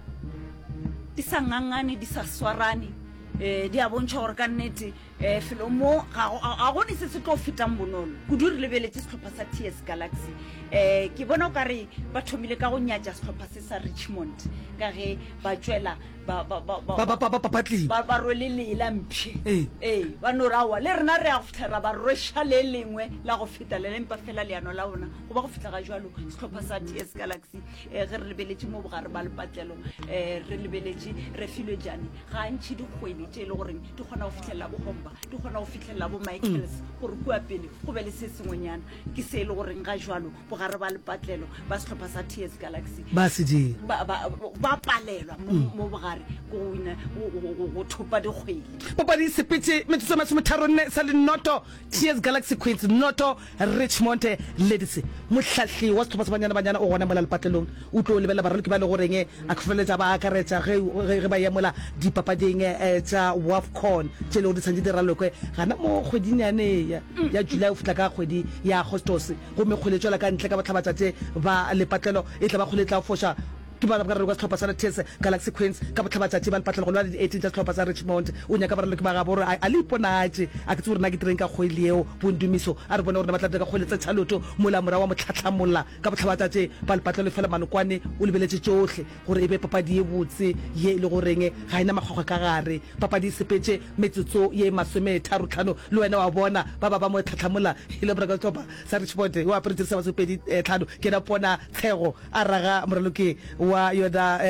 Di sa ngangane, di sa swarane, um di a bontšha gore ka nnete um felo mo ga go, ga go ne se se tlo fetang bonolo kudu. Re lebeletše sehlopha sa T S Galaxy, um ke bona o ka re ba thomile ka go nyatša sehlopha se sa Richmond ka ge ba tšwela ba, ba, ba, ba, Ba, ba, ba, ba papatlile. ba, ba rwele lee la mpšhe. Ee. Ee, ba no re aowa le rena re ya go fihla ra ba rweša le lengwe la go feta le le, empa fela leano la bona go ba go fihla ga jwalo sehlopha sa T S Galaxy. um ge re lebeletše mo bogare ba lepatlelo, um re lebeletše Refilwe Jane ga a ntšhe dikgwele tše e le goreng di kgona go fihlelela bo Homba, di kgona go fihlelela bo Michaels gore kua pele go be le se sengwenyana. Ke se e le goreng ga jwalo bogare ba lepatlelo ba sehlopha sa T S Galaxy ba se dira. ba, ba, ba palelwa mo, mo bogare ko go wina, go, go, go, go thopa dikgwele. Papadi e sepetše metsotso e masometharonne sa le noto, T S Galaxy Queens noto, Richmond Ladies. Mohlahli wa sehlopha sa Banyana Banyana o gona mola lepatlelong. O tlo lebelela baraloki ba e le goreng a ka feleletša ba akaretša ge, ge, ge ba eya mola dipapading tša WAFCON tše e le gore di santše di ralokwe gana mo kgweding yane ya, ya July go fihla ka kgwedi ya Agostose. Gomme kgwele e tšwela ka ntle ka bohlabatšatše ba lepatlelo. E tla ba kgwele e tla foša ke ba baraloki ba sehlopha sa T S Galaxy Queens ka bohlabatšatši ba lepatlelo go lwa le di eighteen tša sehlopha sa Richmond. O nyaka baraloki ba gabo gore a, a le iponatše. A ke tsebe gore na ke direng ka kgwele yeo, Bondumiso. A re bone gore na ba tla dira ka kgwele tse tšhaloto mola morago wa mo hlahlamolla ka bohlabatšatši ba lepatlelo. Efela Malokwane o lebeletše tšohle gore e be papadi ye botse ye e le goreng ga e na makgwakgwa ka gare. Papadi e sepetše metsotso ye masometharo-tlhano le wena wa bona ba ba ba mo hlahlamolla e le moraloki wa sehlopha sa Richmond yo a apere jeresi ya masomepedi tlhano ke yena Pona Tshego a raga moraloki wa yona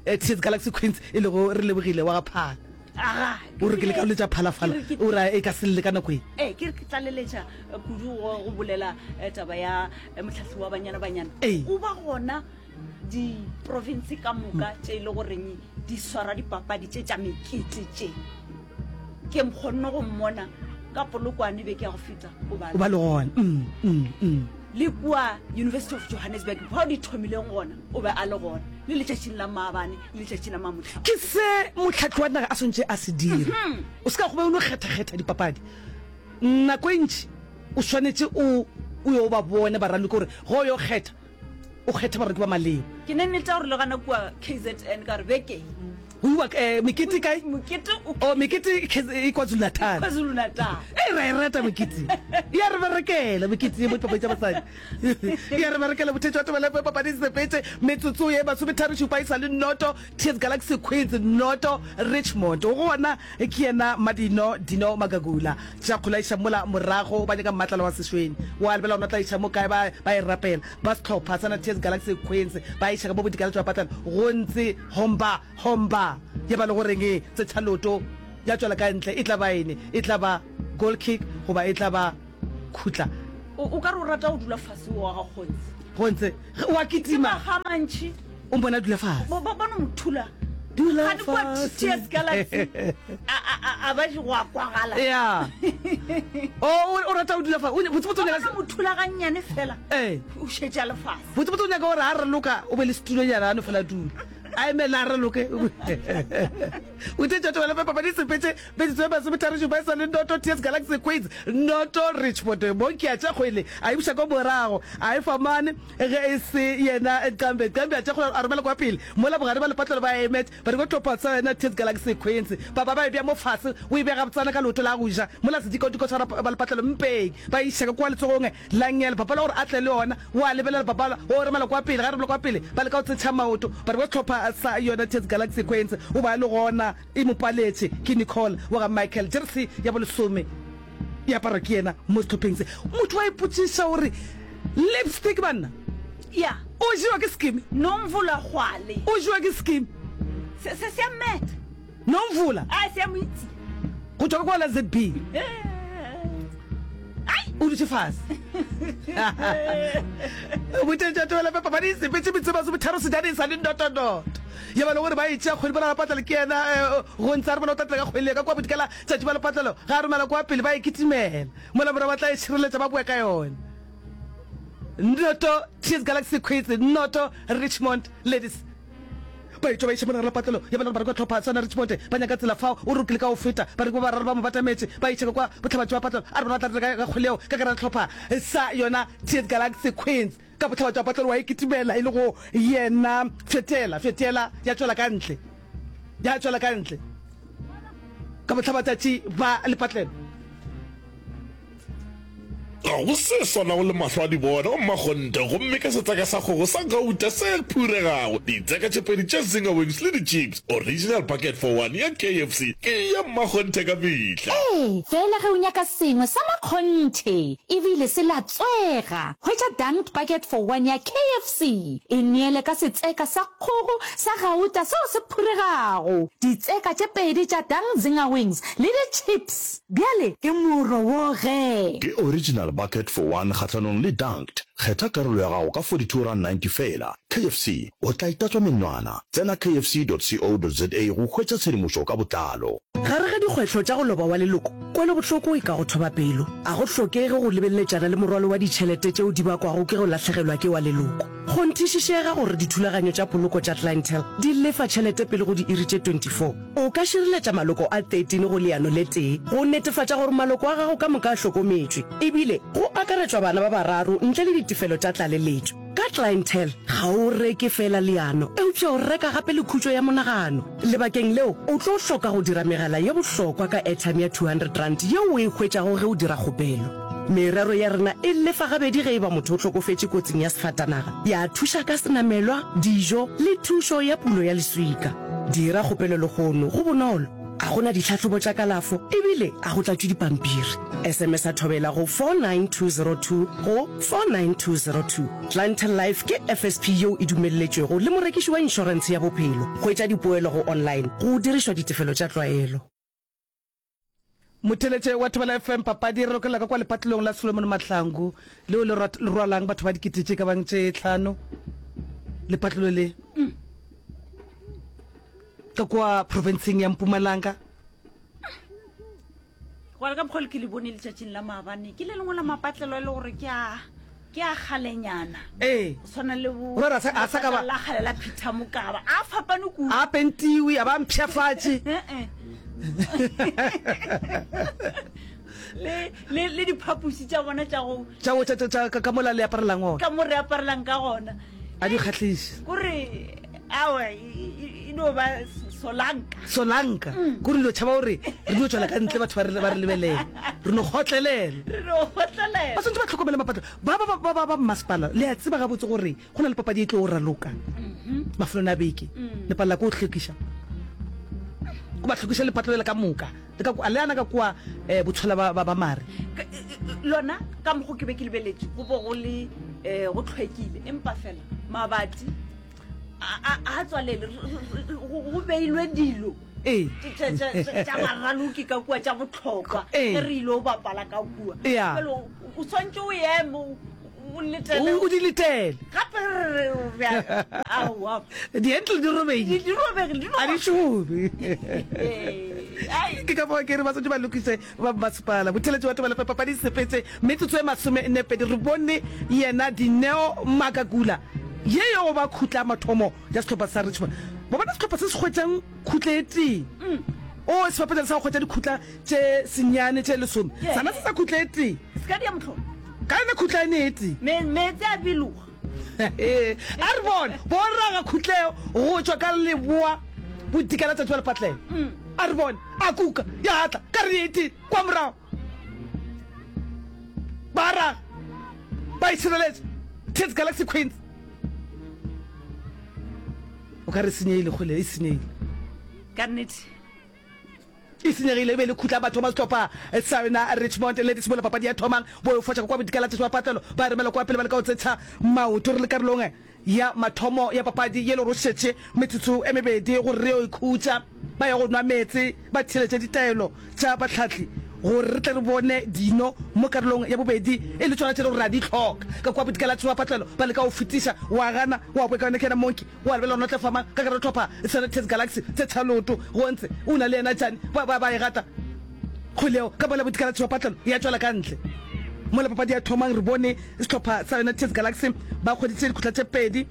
T S Galaxy Queens e lego Relebogile wa ga Phala. Aga, O re ke leka go letša phalafala, ke re ke- o re e ka se lle ka nako e. Ee, ke re ke tlaleletša eh, kudu go go bolela eh, taba ya eh, mohlahli wa Banyana Banyana. Ee. O ba gona diprovince ka moka tše e le goreng di swara dipapadi tše tša mekete tše. Ke kgonne go mmona ka Polokwane beke ya go feta, o ba O ba le gona. Mm, mm, mm. Le kua University of Johannesburg fao di thomileng gona, o be a le gona le letšatšing la maabane le letšatši la mamotlha. Ke se mohlahli wa naga a swanetše a se dire. O se ka go be o no kgetha-kgetha dipapadi. Nako e ntši o swanetše o o yo ba bone baraloki gore ge o yo kgetha O kgethe bareki ba maleba. Ke ne nnete ya gore le gana kua K Z N ka gore beke ye. Go iwa eh, mekete kae? Mokete o. Oh, mekete e KwaZulu-Natal. KwaZulu-Natal. Ei, ra e rata mekete. E a re berekela mekete ye mo dipapadi tša basadi. E a re berekela mothetši wa Thobela F M papadi e sepetše metsotso ye masometharo šupa e sa le noto T S Galaxy Queens noto Richmond. Go gona ke yena Madino Dino Magagula. Tša kgola iša mola morago ba nyaka mmatlala wa sešweng. Wa lebela gona tla iša mo kae ba ba e rapela. Ba sehlopha sa na T S Galaxy Queens ba iša ka mo bodikela tšwa patlelo go ntse homba homba ya ba le go reng e tsetšha loto ya tšwela ka ntle e tla ba ene e tla ba goal kick goba e tla ba khutla. O o ka re o rata go dula fase o wa ga Kgontse. Kgontse ge o a Ke kitima. makga a mantši. O mpone a dula fase. Ba ba ba no mo thula. Dula Kgane kua fase. T S Galaxy a a a a ba je go a kwagala. Ya. O o rata go dula fase. O botsebotse o Ba nyaka. no mo thula gannyane fela. Ee. O šetše a le fase. Botsebotse o nyaka gore a raloka o be le setulonyana a no fela dula. A emele a raloke. O thetša Thobela F M papadi e sepetše metsotso e masometharo šupa e sa le noto T S Galaxy Queens noto Richmond. Monki a tša kgwele a e buša kwa morago a e fa mane ge e se yena Nqambe. Nqambe a tša kgwele a romela kwa pele mola bogare ba lepatlelo ba emet ba re ko tlhopha sa yena T S Galaxy Queens. Ba ba ba e bea mo fase o e bea gabotsana ka leoto la go ja mola sedikadiko sa ba lepatlelo mpeng ba e iša ka kwa letsogong la nngele. Bapala gore a tle le yona o a lebelela bapala o romela kwa pele ge a romela kwa pele ba leka go tsetšha maoto ba re ko tlhopha sa yona T S Galaxy Queens o ba le gona e mo paletše ke Nicole wa ga Michael jersey ya bolesome e aparwa ke yena mo sehlopheng se. Motho wa ipotšiša gore lipstick banna Ya. o jewa ke sekimi. Nomvula Kgwale. O jewa ke sekimi. Se se se a mmetha. Nomvula. A se a mo itse. Go tšwa ka kwa la Z B. Ai. O dutše fase. Boteng tša Thobela F M papadi e sepetše metsotso e masometharo sejaneng sa le notonoto. Ya ba le gore ba e tšea kgwedi mola Lepatlelo ke yena go ntse a re bona o tla tla ka kgwele ka kua bodikela tšatši ba Lepatlelo ge a romela kua pele ba e kitimela mola morago ba tla e šireletša ba boe ka yona. Noto T S Galaxy Queens noto Richmond Ladies ba etšwa ba iša mola gare Lepatlelo ya ba le gore ba re kwa tlhopha sona Richmond ba nyaka tsela fao o re o kile ka go feta bareki ba bararo ba mo batametše ba iša ka kwa bohlabatši ba Patlelo a re bona ba tla tla ka kgwele yeo ka gare ga tlhopha sa yona T S Galaxy Queens. Ka bohlaba tša patlelo wa e kitimela e le go yena fetela, fetela, ya tšwela ka ntle, ya tšwela ka ntle. Ka bohlabatšatši ba lepatlelo. Ga go se swanago le mahlo a di bona, o mmakgonthe, gomme ka setseka sa kgogo sa gauta se phuregago, ditseka tše pedi tša Zinger Wings le di-chips, original bucket for one ya K F C ke ya mmakgonthe ka mehla. Ee, feela ge o nyaka sengwe sa makgonthe e bile se latswega, hwetša Dunked Bucket for One ya K F C. E neele ka setseka sa kgogo sa gauta seo se phuregago, ditseka tše pedi tša Dunk Zinger Wings le di-chips. Bjale ke moro wo ge. Ke Original Bucket for One kgahlanong le Dunked. Kgetha karolo ya gago ka forty-two rand ninety feela. K F C, o tla itatswa menwana. Tsena K F C dot co dot za go hwetša tshedimošo ka botlalo. Gare ga dikgwetlho tša go loba wa leloko, kwelobohloko e ka go thoba pelo. A go hlokege go lebeleletšana le morwalo wa ditšhelete tšeo di bakwago ke go lahlegelwa ke wa leloko. Kgonthišišega gore dithulaganyo tša poloko tša Clientele di lefa tšhelete pele go diiri tše twenty-four. O ka šireletša maloko a thirteen go leano le tee go netefatša gore maloko a gago ka moka a hlokometšwe, e bile go akaretšwa bana ba bararo ntle le ditefelo tša tlaleletšo. Ka Clientele, ga o reke feela leano, eupša o reka gape le khutšo ya monagano. Lebakeng leo, o tlo hloka go dira megala ye bohlokwa ka airtime ya two hundred rand yeo o e hwetšago ge o dira kgopelo. Merero ya rena e lefa gabedi ge e ba motho o hlokofetše kotsing ya sefatanaga, ya thuša ka senamelwa, dijo le thušo ya pulo ya leswika. Dira kgopelo lehono, go bonolo, a go na ditlhahlobo tša kalafo e bile a go tlatšwe dipampiri. S M S a Thobela go four nine two zero two go four nine two zero two. Clientele Life ke F S P yeo e dumelletšwego le morekiši wa inšorentshe ya bophelo. Hwetša dipoelo go online go dirišwa ditefelo tša tlwaelo. Motheeletše wa Thobela F M papadi re lokela ka kwa lepatlelong la Solomon Mahlangu leo le rwalang batho ba dikete tše ka bang tše tlhano. Lepatlelo le ka kwa profenseng ya Mpumalanga. Go ka mokgwa le ke le bone letšatšing la maabane ke le lengwe la mapatlelo e le gore ke a ke a kgalenyana. Ee. Go swana le bo Gore a sa- a sa ka ba- la kgale la Peter Mokaba a fapane kudu. A pentiwe a ba mpshafatše. Eh-eh. le le le diphapoši tša bona tša go tša go tša- tša- tša- ka ka mola le aparelang ona ka mo re aparelang ka gona. A di kgahliše. Kore aowa e e no ba solanka. Solanka. Kore dilo tšhaba gore re dio tšwela ka ntle batho ba re ba re lebelela. Re no kgotlelela. Re no kgotlelela. Ba swanetše ba hlokomele mapatlo. Ba ba ba ba ba mmasepala le a tseba gabotse gore go na le papadi e tlo raloka mafelong a beke. Le palela ke go hlwekiša. Go ba hlwekiša lepatlo lela ka moka. Le ka kwa le ana ka kwa eh botshola ba ba ba mare. Lona ka mokgo ke be ke lebeletše go bo go le eh go hlwekile empa fela mabati a a tswalele go beilwe dilo ee tša baraloki ka kua tša bohlokwa Ee. ge re ile o bapala ka kua Ya. Bjale o o swantše o eme o- o letele o di letele gape re re re aowa di-handle di robegile di robegile di a di šome Ee, ai. ke ka fao ke re ba swanetše ba lokise ba mmasepala botheletši wa tobela papadi sepetse metsotso e masome nne pedi re bone yena Dineo Makakula ye yo go ba khutla ya mathomo ya sehlopha sa Richmond. Ba bona sehlopha se se hwetšang khutla e tee. O se bapetša le sa go hwetša dikhutla tše senyane tše lesome. Sana se sa khutla e tee. Se ka dia mohlolo. Ka yona khutla ene e tee. Me, meetse a biloga. A re bone, bo raga khutleo go tšwa ka leboa bodikela tšatši ba lepatlelo. A re bone, a kuka, ya tla, ka re e tee, kwa morago. Ba raga, ba itšhireletša. Tits Galaxy Queens. O ka re senyegile kgole, e senyegile. Ka nnete. E senyegile, e be le khutla batho ba sehlopha sa yona Richmond Ladies mola papadi ya thomang. Bo e foša ka kwa bodikela tša patlelo, ba e romela kwa pele ba leka go tsetsha maoto. Re le karolong ya mathomo ya papadi ye le gore o šetše metsotso e mebedi gore re yo ikhutša. Ba ya go nwa meetse, ba theeletša ditaelo tša bahlahli gore re tle re bone dino mo karolong ya bobedi e le tšona tše le gore re a di hloka. Ka kua bodikela tša patlelo ba leka go fetiša, wa gana, wa boeka yona ke yena Monkey, wa lebelela gore no tle fa mang ka gare hlopha Senators Galaxy tse tsha leoto go ntse o na le yena Jane ba ba ba e gata kgwele yeo ka mola bodikela tša patlelo ya tšwela ka ntle. Mola papadi ya thomang re bone sehlopha sa United Galaxy ba hweditše dikhutla tše pedi,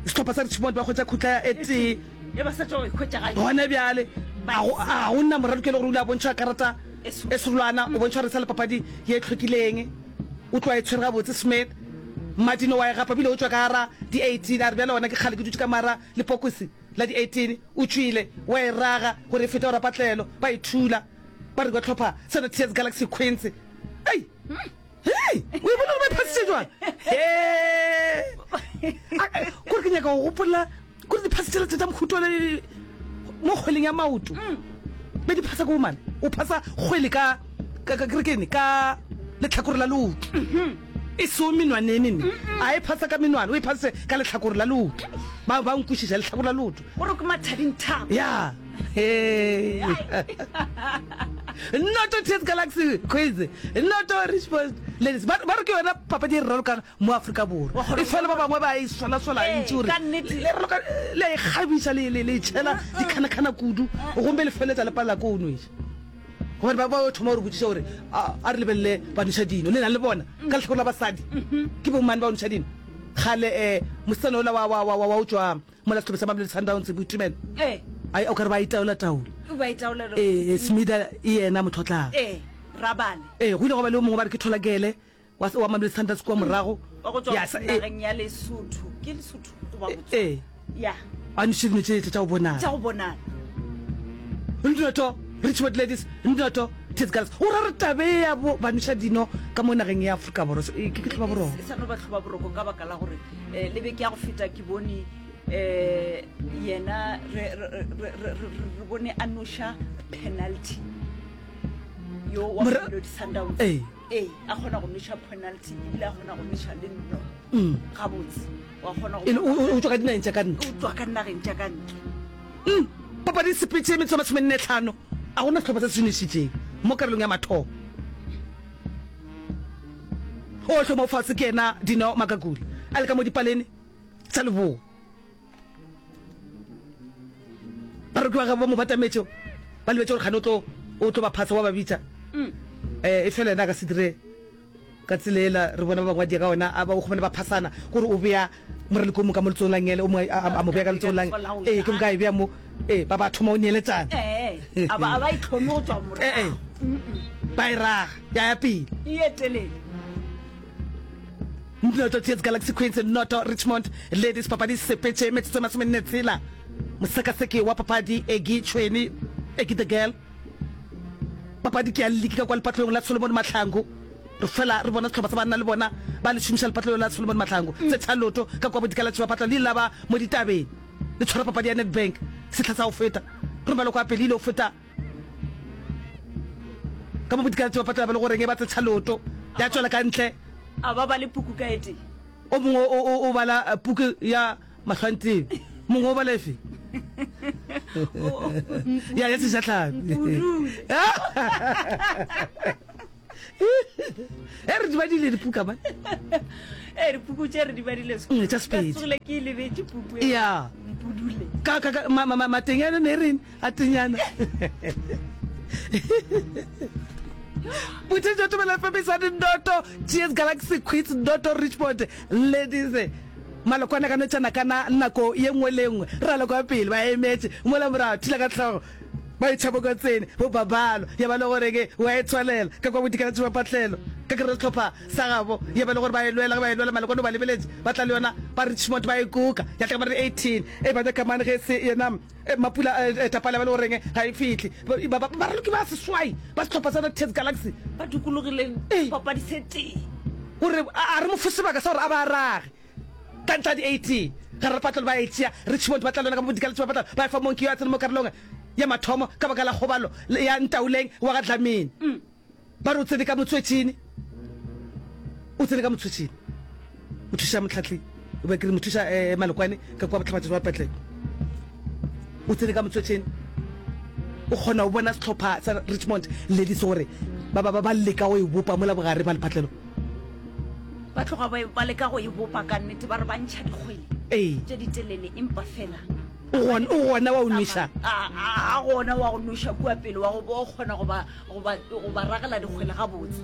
sehlopha sa Richmond ba hwetša khutla ya e tee. E ba sa tšwa go e hwetša ga Gona bjale a go a go nna moraloki e le gore o ile a bontšhwa karata e serolwana, o bontšhwa gore e sa le papadi ye e hlwekileng. O tloga e tshwere gabotse Smith. Martino wa e gapa bile o tšwa ka gara di eighteen a re bjale gona ke kgale ke dutše ka mara lepokisi la di eighteen. O tšwile wa e raga gore e fete go rapatlelo ba e thula ba re ba hlopha sona Tears Galaxy Queens. Ei! Hei! O e bona gore ba e phasitše jwang? Hee! Kore ke nyaka go gopola kore di phasa tšela tša mohuta le mo kgweleng ya maoto. Be di phasa ko bomane. O phasa kgwele ka ka ka kene ka lehlakore la leoto. E seo menwana e mene. A e phasa ka menwana, o e phase ka lehlakore la leoto. Ba ba nkwešiša lehlakore la leoto. Gore ke mathading thapo. Ya. Hey. Noto Tears Galaxy Quiz. Noto Richmond Ladies. Ba ba re ke yona papadi e re ralokang mo Afrika Borwa. E fela ba bangwe ba e sola-sola Ee, ntši gore ka nnete. le raloka le a e kgabiša le le le e tšhela dikhanakana kudu gomme le feleletša le palela ko o nweša. Gobane ba ba thoma gore botšiša gore a a re lebelele ba nweša dino le na le bona ka lehlakore la basadi ke bomane ba nweša dino. Kgale eh mosetsana ola wa wa wa wa o tšwa mola sehlopha sa Mamelodi Sundowns Boitumelo. Ee. Ai o ka re ba itaola taola. Ba itaola. Ee, Smida e yena motho o tla. Ee, Rabale. Ee, go ile gwa ba le o mongwe ba re ke Tholakele wa wa Mamelodi Sundowns kua morago. Wa go tšwa Ya, sa- ee, nageng ya Lesotho. Ke Lesotho goba Botswana? Ee. Ya. A noše dino tše tša go bonala. Tša go bonala. Nnoto, Richmond Ladies, Nnoto, Tits Girls. O ra re tabe ya bo ba noša dino ka mo nageng ya Afrika Borwa e ke ke hloba boroko. E sa no ba hloba boroko ka baka la gore eh, le beke ya go feta ke bone eh, yena re, re, re, re, re, re bone a noša penalty yo wa Mora- Mamelodi Sundowns. Ee. Ee, a kgona go noša penalty ebile a kgona go noša le nno gabotse. Wa kgona go E le o o- o tšwa ka dinageng tša ka ntle. o tswa ka nageng tša ka ntle. Mm, papadi e sepetše metsotso e masomenne tlhano, a gona sehlopha se se nošitšeng mo karolong ya mathomo. O hloma fase ke yena Dineo Makakula a le ka mo dipalene tša leboa. Baroki ba gagwe ba mo batametše ba lebetše gore kgane o tlo o tlo ba phasa wa ba bitša. Eh, e fela yena a ka se dire ka tsela ela re bona ba bangwe ba dia ka ona, a ba o kgomane ba phasana gore o bea moraloko o mongwe ka mo letsogong la ngele, o mongwe a, a, a mo bea ka letsogong la ee, ke moka a e bea mo, ee, ba ba thoma o neeletsana. Ee, a ba a ba itlhome go tswa Ee, ee, morago. ba e raga ya ya pele. E ye telele. Noto T S Galaxy Queens noto Richmond Ladies. Papadi e sepetše metsotso e masomenne tshela. Mosekaseki wa papadi Eggy Tšhweni, Eggy the Girl. Papadi ke ya liki ka kwa lepatlelong la Solomon Mahlangu. Re fela re bona sehlopha sa banna le bona ba le šomiša lepatlelo la Solomon Mahlangu. Tse Tšhaloto ka kwa bodikalatši ba patla le ile la ba mo ditabeng le tshwara papadi ya Nedbank sehla sa go feta. Romelo kwa pele ile go feta ka mo bodikalatši ba patla ba le goreng e ba tse Tšhaloto ya tšwela ka ntle. A ba bale puku ka e tee. O mongwe o, o, o bala puku ya Mahlwantebe, mongwe o bala efe? Ya, ya Sejatlhapi. E re di badile dipuka man. E dipuku tše re di badile mm, tša Sepedi. Tsogile ke e lebetše puku e. Ya. Mpudule. Ka ka ka ma, ma, matenyana ne reng a tenyana. Bothetšo Thobela F M e sa dinoto G S Galaxy Queens noto Richmond Ladies Malokwane ka notšana kana nako ye nngwe le nngwe ralo kwa pele ba emetše mola morago thula ka hlogo ba itšhabo kwa tsene bo babalo ya ba le gore ke wa e tswalela ka kwa bodikalatši ba patlelo ka kere sehlopha sa gabo ya ba le gore ba e lwela ge ba e lwela Malokwane o ba lebeletše ba tla le yona ba Richmond ba e kuka ya tla ka ba re eighteen e ba nyaka mane ge se yena Mapula Tapale ba le goreng ga e fihle. Baraloki ba seswai ba sehlopha sa Ts Galaxy ba dikologile papadi se tee. Gore a re mo fe sebaka sa gore a ba rage ka ntle ga di eighteen. Gare ga patlelo ba e tšea, Richmond ba tla lwela ka mo Galaxy ba patla ba e fa Monki yo a tsene mo karolong ya mathomo ka baka la kgobalo ya Ntaoleng wa ga Dlamini. Ba re o tsene ka motswetšini, o tsene ka motswetšini, mothuša mohlahli, ba ke re mothuša eh, Malokwane ka kwa bohlabatšatši ba petlele. O tsene ka motswetšini, o kgona go bona sehlopha sa Richmond Ladies gore ba ba ba leka go e bopa mola bogare ba lephatlelo. Ba tloga ba, ba leka go e bopa ka nnete, ba re ba ntšha dikgwele Ee. tše ditelele, empa fela O gona, o gona wa go nweša. A, a, a gona wa go nweša kua pele, wa go bo kgona go ba, go ba, go ba ragela dikgwele gabotse.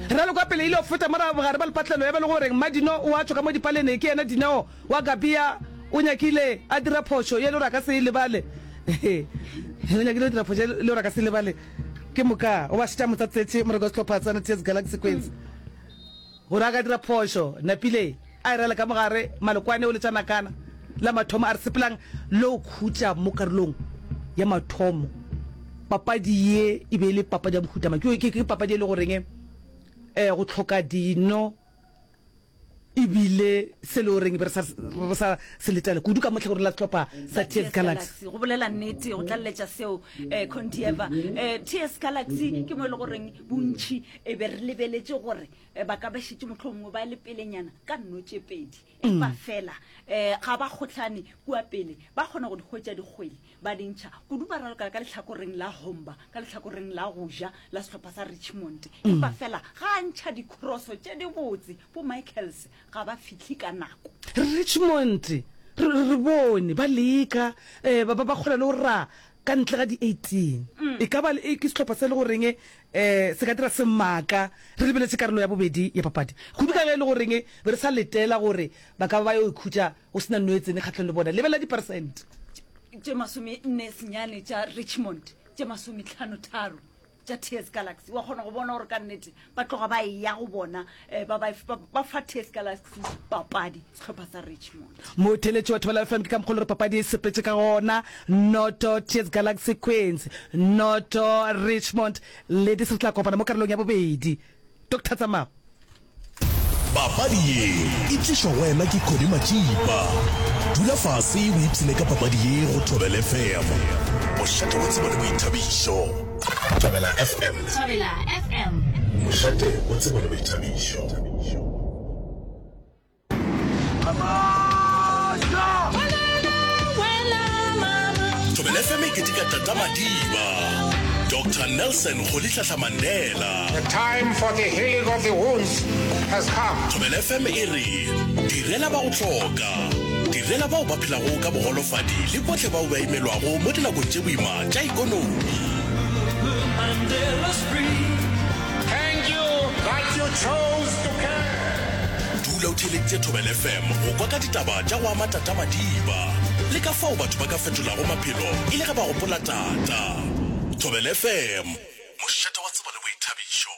Ralo kwa pele ile go feta morago bogare ba lepatlelo ya ba le goreng Mmadino o a tšwa ka mo dipalene ke yena Dineo wa Gabia o nyakile a dira phošo ye le gore a ka se e lebale o nyakile go dira phošo ye le gore a ka se e lebale ke moka o ba šetša motsatsetše moreko wa sehlopha sa T S Galaxy Queens Gore a ka dira phošo, Napile a e rela ka mogare, Malokwane o letša nakana la mathomo a re sepelang le go khutša mo karolong ya mathomo. Papadi ye e be e le papadi ya mohuta mang? Ke, ke, ke papadi e le goreng eh, go hloka dino e bile se le goreng be re sa, re sa se letela kudu ka mo tlhakoreng la sehlopha sa T S Galaxy. Go bolela nnete, go tlaleletša seo eh, Condieva, eh, T S Galaxy ke mo e le goreng bontši e be re lebeletše gore ba ka ba šetše mohlomongwe ba le pelenyana ka nno tše pedi, empa fela um ga ba kgohlane kua pele, ba kgona go di hwetša dikgwele ba di ntšha kudu, ba ralokela ka lehlakoreng la Homba, ka lehlakoreng la go ja la sehlopha sa Richmond, empa fela ga a ntšha dikroso tše dibotse, bo Michaels ga ba fihle ka nako. Richmond re, re bone ba leka, um ba, ba, ba kgona le go ra ka ntle ga di eighteen. E ka ba ke sehlopha se le goreng um se ka dira semaka re lebeletše karolo ya bobedi ya papadi. Kudu ka ge e le goreng be re sa letela gore ba ka ba ba yo ikhutša go se na no e tsene kgahlong le bona. Lebelela diperesente. Tše masome nne senyane tša Richmond, tše masome hlano tharo tša T S Galaxy. Wa kgona go bona gore ka nnete ba tloga ba eya go bona, eh, ba, ba, ba, ba fa T S Galaxy papadi, sehlopha sa Richmond. Motheeletši wa Thobela F M ke ka mokgwa o le gore papadi e sepetše ka gona. Noto T S Galaxy Queens, noto Richmond Ladies. Re tla kopana mo karolong ya bobedi. Doctor Tsamao. Papadi ye e tlišwa go wena ke Connie Matšipa. Dula fase o ipshine ka papadi ye go Thobela F M. Mošate wa tsebo le boithabišo. Thobela F M. Thobela F M. Mošate wa tsebo le boithabišo. Thobela F M e keteka Tata Madiba, Doctor Nelson Rolihlahla Mandela. The time for the healing of the wounds has come. Thobela F M e re direla ba go hloka, direla bao ba phelago ka bogolofadi le bohle bao ba imelwago mo dinakong tše boima tša ikonomi. Thank you that you chose to care. Dula o theeleditše Thobela F M go kwa ka ditaba tša go ama Tata Madiba le ka fao batho ba ka fetolago maphelo e le ge ba gopola Tata. Thobela F M, mošate wa tsebo le boithabišo.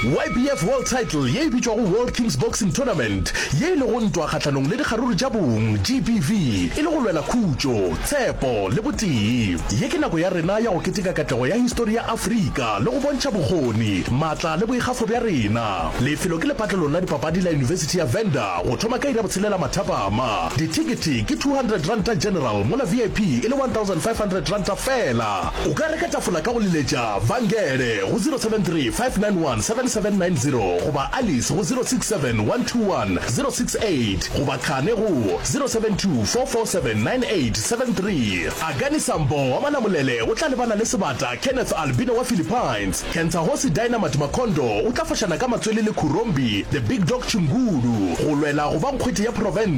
YBF World Title ye e bitšwago World Kings Boxing Tournament, ye e lego ntwa kgahlanong le dikgaruru tša bong, GBV, e le go lwela khutšo, tshepo le botee. Ye ke nako ya rena ya go keteka katlego ya histori ya Afrika le go bontšha bokgoni, maatla le boikgafo bja rena. Lefelo ke lepatlelong la dipapadi la Yunibesithi ya Venda go thoma ka iri ya botshelela mathapama. Dithekete ke two hundred ranta general mola VIP e le one thousand five hundred ranta feela. O ka reka tafola ka go leletša Vangele go zero seven three five nine one seven seven nine zero goba Alice go zero six seven one two one zero six eight goba Khane go zero seven two four four seven nine eight seven three. Akani Sambo wa Malamulele o tla lebana le sebata Kenneth Albino wa Philippines. Kentsahosi Dynamite Makondo o tla fošana ka matswele le Khurombi The Big Dog Chingulu go lwela go ba nkgwete ya profense.